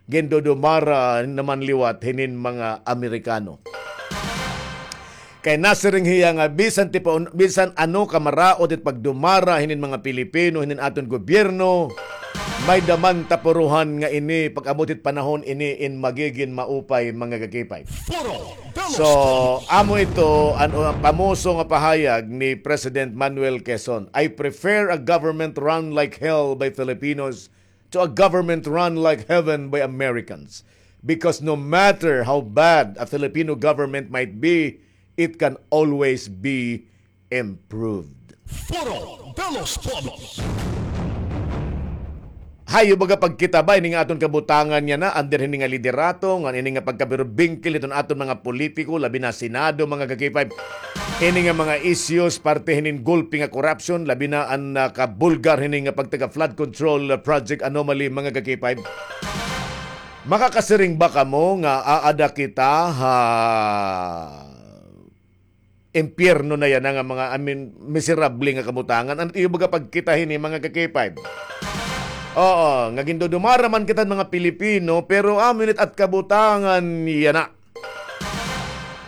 gindudumara naman liwat hinin mga Amerikano. Kay nasiring hiya nga bisan ti paun-, bisan ano ka maraot it pagdumara hinin mga Pilipino, hinin aton gobyerno, may-ada man ta puruhan nga ini, pag-abot it panahon ini in magigin maupay, mga ka-K five. So, amo ito an, an pamuso nga pahayag ni President Manuel Quezon. "I prefer a government run like hell by Filipinos to a government run like heaven by Americans. Because no matter how bad a Filipino government might be, it can always be improved." Foro de los Pueblos. Hayo baga pagkita ba ini nga aton kabutangan yana, under hini nga liderato, ngan ini nga pagkabirubingkil hiton aton mga politiko, labi na Senado, mga ka-K five. Ini nga mga issues, parte hinin gulpi nga korupsyon, labi na an, ah, kabulgar hini nga pagtaga flood control, ah, project anomaly, mga ka-K five. Makakasiring ba kamo nga aada kita ha impyerno na yana nga mga, I mean, miserable nga kabutangan. An iyo baga pagkita hini, mga ka-K five? Oo, nga gindudumara man kita mga Pilipino, pero amo ini it kabutangan yana.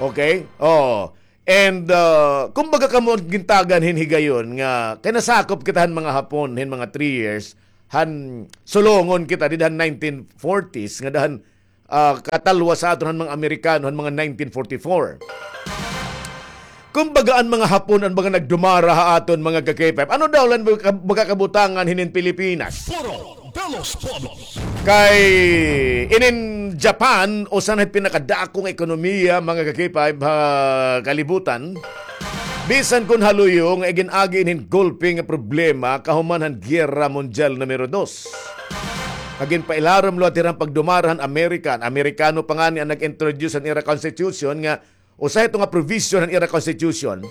Okay? Oo. And, uh, kumbaga kamo gintagan hin higayon nga kay nasakop kita han mga Hapon hin mga three years, han sulungon kita dida han nineteen forties, ngada han, ah, katalwas ha aton han mga Amerikano han mga nineteen forty-four. Kumbaga an mga Hapon an mga nagdumara ha aton, mga ka-K five. Ano daw la an baga, baga kabutangan hinin Pilipinas? Foro de los Pueblos. Kay inin Japan, usa na hit pinakadako nga ekonomiya, mga ka-K five, ha kalibutan. Bisan kon haluyo nga igin-agi hin golpe nga problema kahuman han Giyera Mundial Numero Dos. Nga ginpailarom liwat hira han pagdumara han Amerika. An Amerikano pa ngani an nag-introduce han ira constitution nga usa hito nga provision han ira constitution,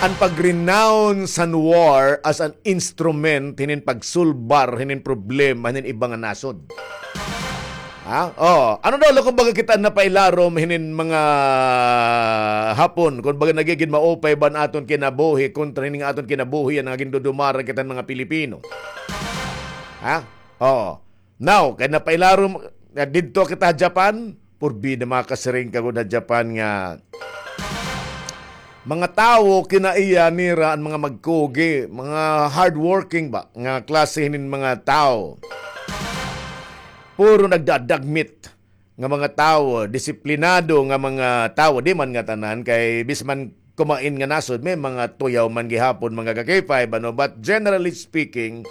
an pag-renounce han war as an instrument hinin pagsulbar hinin problema hinin iba nga nasod. Ha? Oh, ano daw la kon baga kita napailarom hinin mga Hapon, kon baga nagigin maupay ba an aton kinabuhi kontra hinin aton kinabuhi nga gindudumara kita mga Pilipino? Ha? Oh. Now, kay napailarom, nga didto kita ha Japan, purbida makasiring ka gud ha Japan nga mga tawo, kinaiya nira an mga magkugi, mga hardworking ba, nga klase hinin mga tawo. Puro nagdadagmit nga mga tawo, disiplinado nga mga tawo, di man nga tanan, kay bisan man kumain nga nasod, may mga tuyaw man gihapon, mga ka-K five, ano, but generally speaking,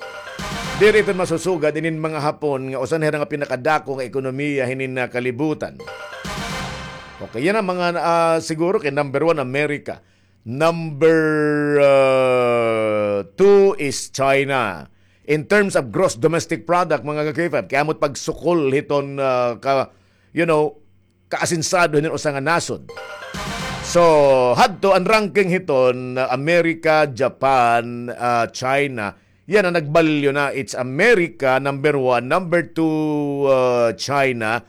diri iton masusugad inin mga Hapon nga usa na hira nga pinakadako nga ekonomiya hinin, ah, kalibutan. Okay, yana an mga, ah, siguro kay number one, America. Number, ah, two is China. In terms of gross domestic product, mga ka-K five, kay amo it pagsukol hiton, ah, ka, you know, kaasinsado hinin usa nga nasod. So, hadto an ranking hiton, ah, America, Japan, ah, China. Yana, nagbalyo na. It's America, number one. Number two, ah, China.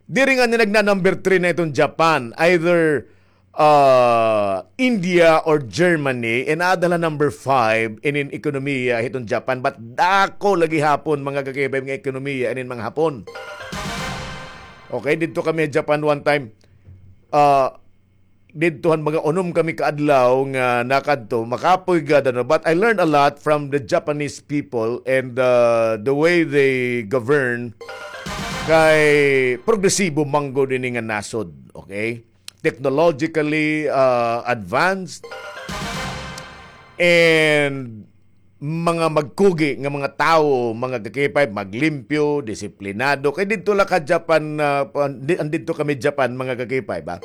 Diri ngani nagna-number three na iton Japan. Either, ah, India or Germany. And aada la number five inin ekonomiya hiton Japan. But dako la gihapon, mga ka-K five, nga ekonomiya inin mga Hapon. Okay, didto kami ha Japan one time. Ah, didto han mga unom kami ka adlaw nga nakadto, makapoy gad, ano, but I learned a lot from the Japanese people and, uh, the way they govern. Kay progresibo man gud ini nga nasod, okay? Technologically, uh, advanced. And mga magkugi nga mga tawo, mga ka-K five, maglimpyo, disiplinado. Kay didto la ka Japan, ah, pa-, di-, andidto kami Japan, mga ka-K five, ah.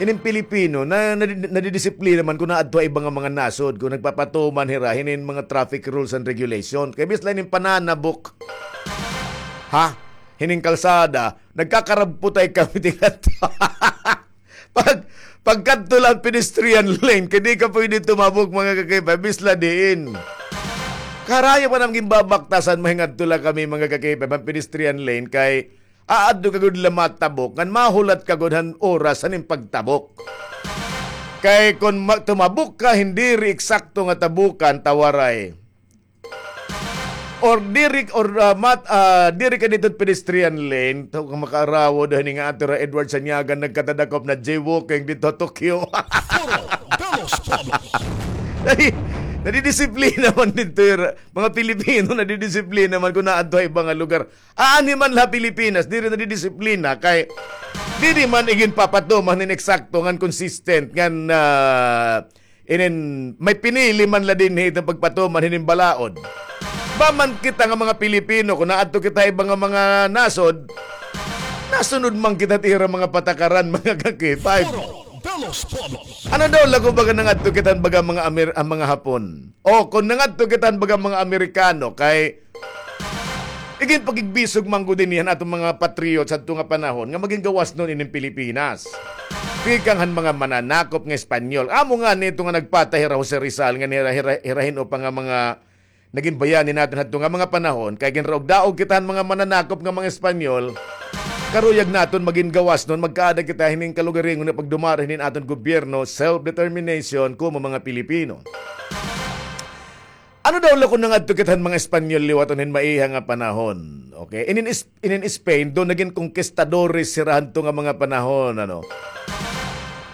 Ining Pilipino, na, nadi-, nadidisiplina man kon naadto ha iba nga mga nasod, kon nagpapatuman hira hinin mga traffic rules and regulation. Kay bisan la hinin pananabok, ha? Hinin kalsada, nagkakarabputay kami tingadto. Pag, pagkadto la han pedestrian lane, kay di ka pwede tumabok, mga ka-K five, bisan la diin. Karuyag pa namon ginbabaktasan, mahingadto la kami, mga ka-K five, han pedestrian lane, kay aadto ka gud la matabok, ngan mahulat ka gud han oras han im pagtabok. Kay kon ma-, tumabok ka, hin diri eksakto nga tabukan, ta waray. Or diri, or, ah, mat-, ah, diri ka didto pedestrian lane, to ka makaarawod hini nga ato ra Edward Sanyagan nagkatadakop na jaywalking didto Tokyo. Foro de los Pueblos. Ay, nadidisiplina man didto, ira. Mga Pilipino, nadidisiplina man kon naadto ha iba nga lugar. Aanhi man la ha Pilipinas, diri nadidisiplina, kay diri man iginpapatuman hin eksakto ngan consistent, ngan, ah, inin, may pinili man la dinhi iton pagpatuman hinin balaod. Ba man kita nga mga Pilipino, kon naadto kita ha iba nga mga nasod, nasunod man kita ha ira mga patakaran, mga ka-K five. Foro de los Pueblos. Ano daw la kon baga nangadto kita han baga mga Amer-, ah, mga Hapon? O, kon nangadto kita han baga mga Amerikano, kay iginpakigbisog man gud dinhi han aton mga patriots hadto nga panahon nga magin gawasnon inin Pilipinas. Tikang han mga mananakop nga Espanyol. Amo ngani ito nga nagpatay hira Jose Rizal, ngan hira, hira, hira hin-o pa nga mga nagin bayani naton hadto nga mga panahon, kay ginraog-daog kita han mga mananakop nga mga Espanyol. karuyag naton magin gawasnon, magkaada kita hinin kalugaringon nga pagdumara hinin aton gobyerno, self-determination, komo mga Pilipino. Ano daw la kon nangadto kita han mga Espanyol liwat hin maiha nga panahon? Okay? Inin is-, inin Spain, daw nagin konkistadores hira hadto nga mga panahon, ano?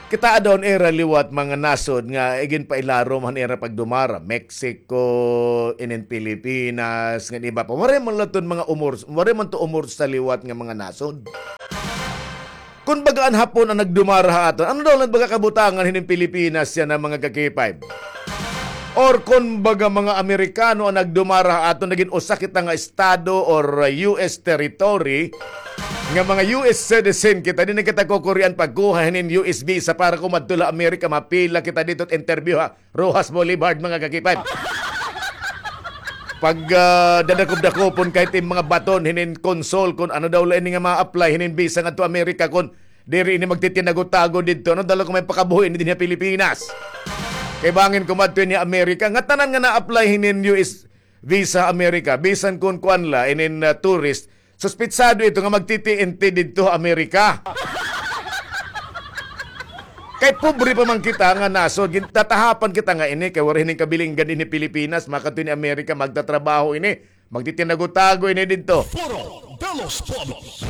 Kitaa daw nira liwat mga nasod nga iginpailarom han ira pagdumara. Mexico, inin Pilipinas, ngan iba pa. Waray man la ton mga umor-, waray man to umorsa liwat nga mga nasod. Kon baga an Hapon an nagdumara ha aton, ano daw la baga kabutangan hinin Pilipinas yana, mga ka-K five? Or kon baga mga Amerikano an nagdumara ha aton, nagin usa kita nga estado or, uh, U S territory, nga mga U S citizen kita, di na kita kukurian pagkuha hinin U S visa para kumadto la Amerika, mapila kita didto interview ha Roxas Boulevard, mga ka-K five. Pag, ah, dadakop-dakopon ka hit mga baton hinin consul kon ano daw la ini nga ma-apply hinin visa ngadto Amerika kon diri ini magtitinago-tago didto, ano daw la kon may pakabuhi ini dinhi ha Pilipinas. Kay bangin kumadto ini Amerika, ngatanan nga na-apply hinin U S visa Amerika, bisan kon kuan la, inin, ah, tourist, suspitsado ito nga magti-T N T didto ha Amerika. Kay pobre pa man kita nga nasod, gin-, tatahapan kita nga ini, kay waray hinin kabilinggan dinhi Pilipinas, makadto ini Amerika, magtatrabaho ini, magtitinago-tago ini didto. Foro de los Pueblos.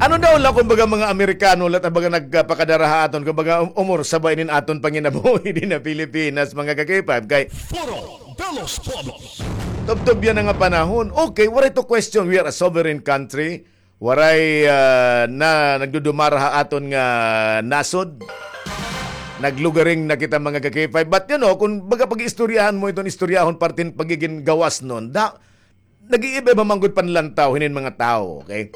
Ano daw la, kumbaga, mga Amerikano la ta baga nagpakadara ha aton, kumbaga, um-, umorsa ba inin aton panginabuhi dinhi ha Pilipinas, mga ka-K five, kay Foro de los Pueblos. Tubtob yana nga panahon. Okay, waray to question. We are a sovereign country. Waray, ah, na nagdudumara ha aton nga nasod. Naglugaring na kita, mga ka-K five. But, you know, kon baga pag-iistoryahan mo iton istoryahon parte hin pagigin gawasnon, da, nag-iiba-iba man gud panlantaw hinin mga tawo, okay?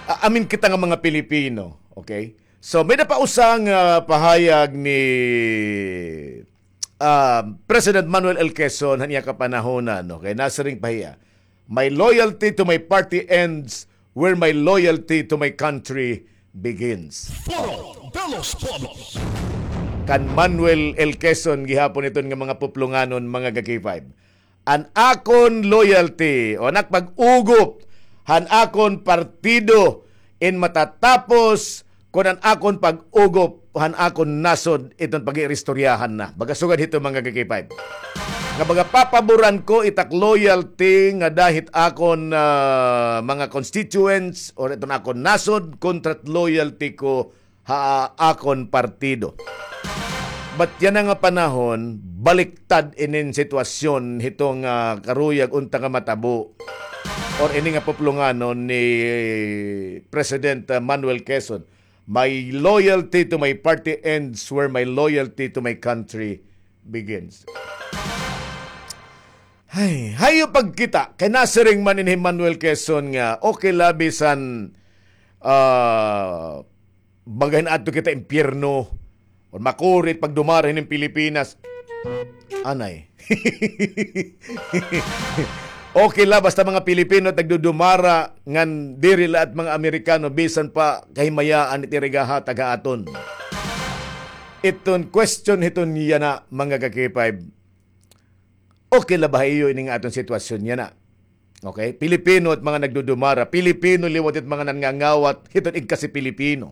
A-, amin kita nga mga Pilipino, okay? So, may-ada pa usa nga pahayag ni ah, President Manuel L. Quezon han iya kapanahonan, okay, nasiring pa hiya, "My loyalty to my party ends where my loyalty to my country begins." Foro de los Pueblos. Kan Manuel L. Quezon gihapon iton nga mga puplonganon, mga ka-K five. An akon loyalty, o an ak pag-ugop han akon partido, in matatapos kon an akon pag-ugop han akon nasod iton pag-iiristoryahan na. Baga sugad hito, mga ka-K five. Nga baga papaboran ko it ak loyalty ngada hit akon, ah, mga constituents or iton akon nasod kontra hit loyalty ko ha akon partido. But yana nga panahon, baliktad inin sitwasyon hito nga karuyag unta nga matabo or ini nga puplonganon ni President, ah, Manuel Quezon. "My loyalty to my party ends where my loyalty to my country begins." Hay, hayo pagkita, kay nasiring man ini hi Manuel Quezon nga okay la bisan, ah, baga hin adto kita impyerno, o makuri it pagdumara hinin Pilipinas. Anay. Okay la, basta mga Pilipino it nagdudumara, ngan diri la it mga Amerikano, bisan pa kahimayaan it ira igahatag ha aton. Iton question hiton yana, mga ka-K five. Okay la ba ha iyo ini nga aton sitwasyon yana? Okay? Pilipino it mga nagdudumara, Pilipino liwat it mga nangangawat hiton igkasi-Pilipino.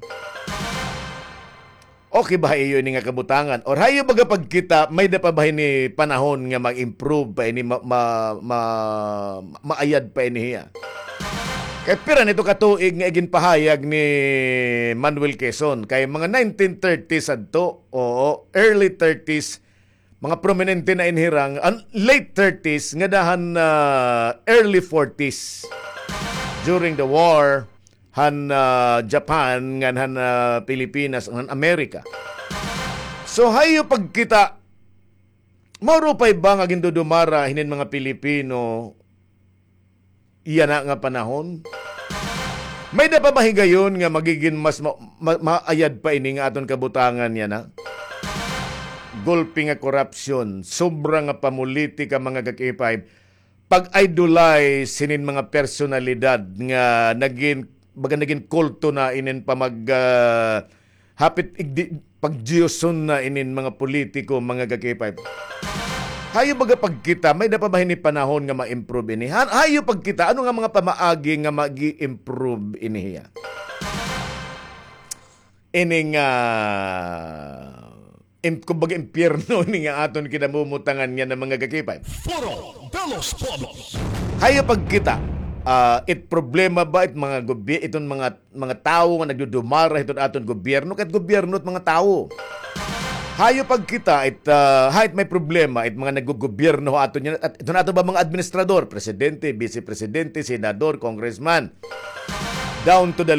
Okay ba ha iyo ini nga kabutangan? Or ha iyo baga pagkita, may-ada pa ba hini panahon nga mag-improve pa ini, ma-, ma-, ma-, maayad pa ini hiya? Kay pira na ito ka tuig nga iginpahayag ni Manuel Quezon, kay mga nineteen thirties adto, oo, early thirties, mga prominente na in hira, an late thirties ngada han, ah, early forties during the war han, ah, Japan ngan han, ah, Pilipinas, han Amerika. So, hayo pagkita, maurupay ba nga gindudumara hinin mga Pilipino yana nga panahon? May-ada pa ba higayon nga magigin mas ma-, ma-, maayad pa ini nga aton kabutangan yana? Gulpi nga korapsyon, sobra nga pamolitika, mga ka-K five, pag-idolize hinin mga personalidad nga nagin, baga nagin kulto na inin pamag-, ah, hapit igdi-, pagdiyoson na inin mga politiko, mga ka-K five. Hayo baga pagkita, may-ada pa ba hini panahon nga ma-improve ini? Ha-, hayo pagkita, ano nga mga pamaagi nga magi-improve ini hiya? Ini nga, im-, kumbaga, impyerno ini nga aton kinamumutangan nga ng mga gakipay. Foro de los Pueblos. Hayo pagkita, ah, it problema ba it mga gobi-, iton mga, mga tawo nga nagdudumara hiton aton gobyerno, kahit gobyerno at mga tawo. Hayo pagkita it, ah, ha it may problema it mga naggogobyerno ha aton yan, at iton ato ba mga administrador, presidente, vice presidente, senador, congressman, down to the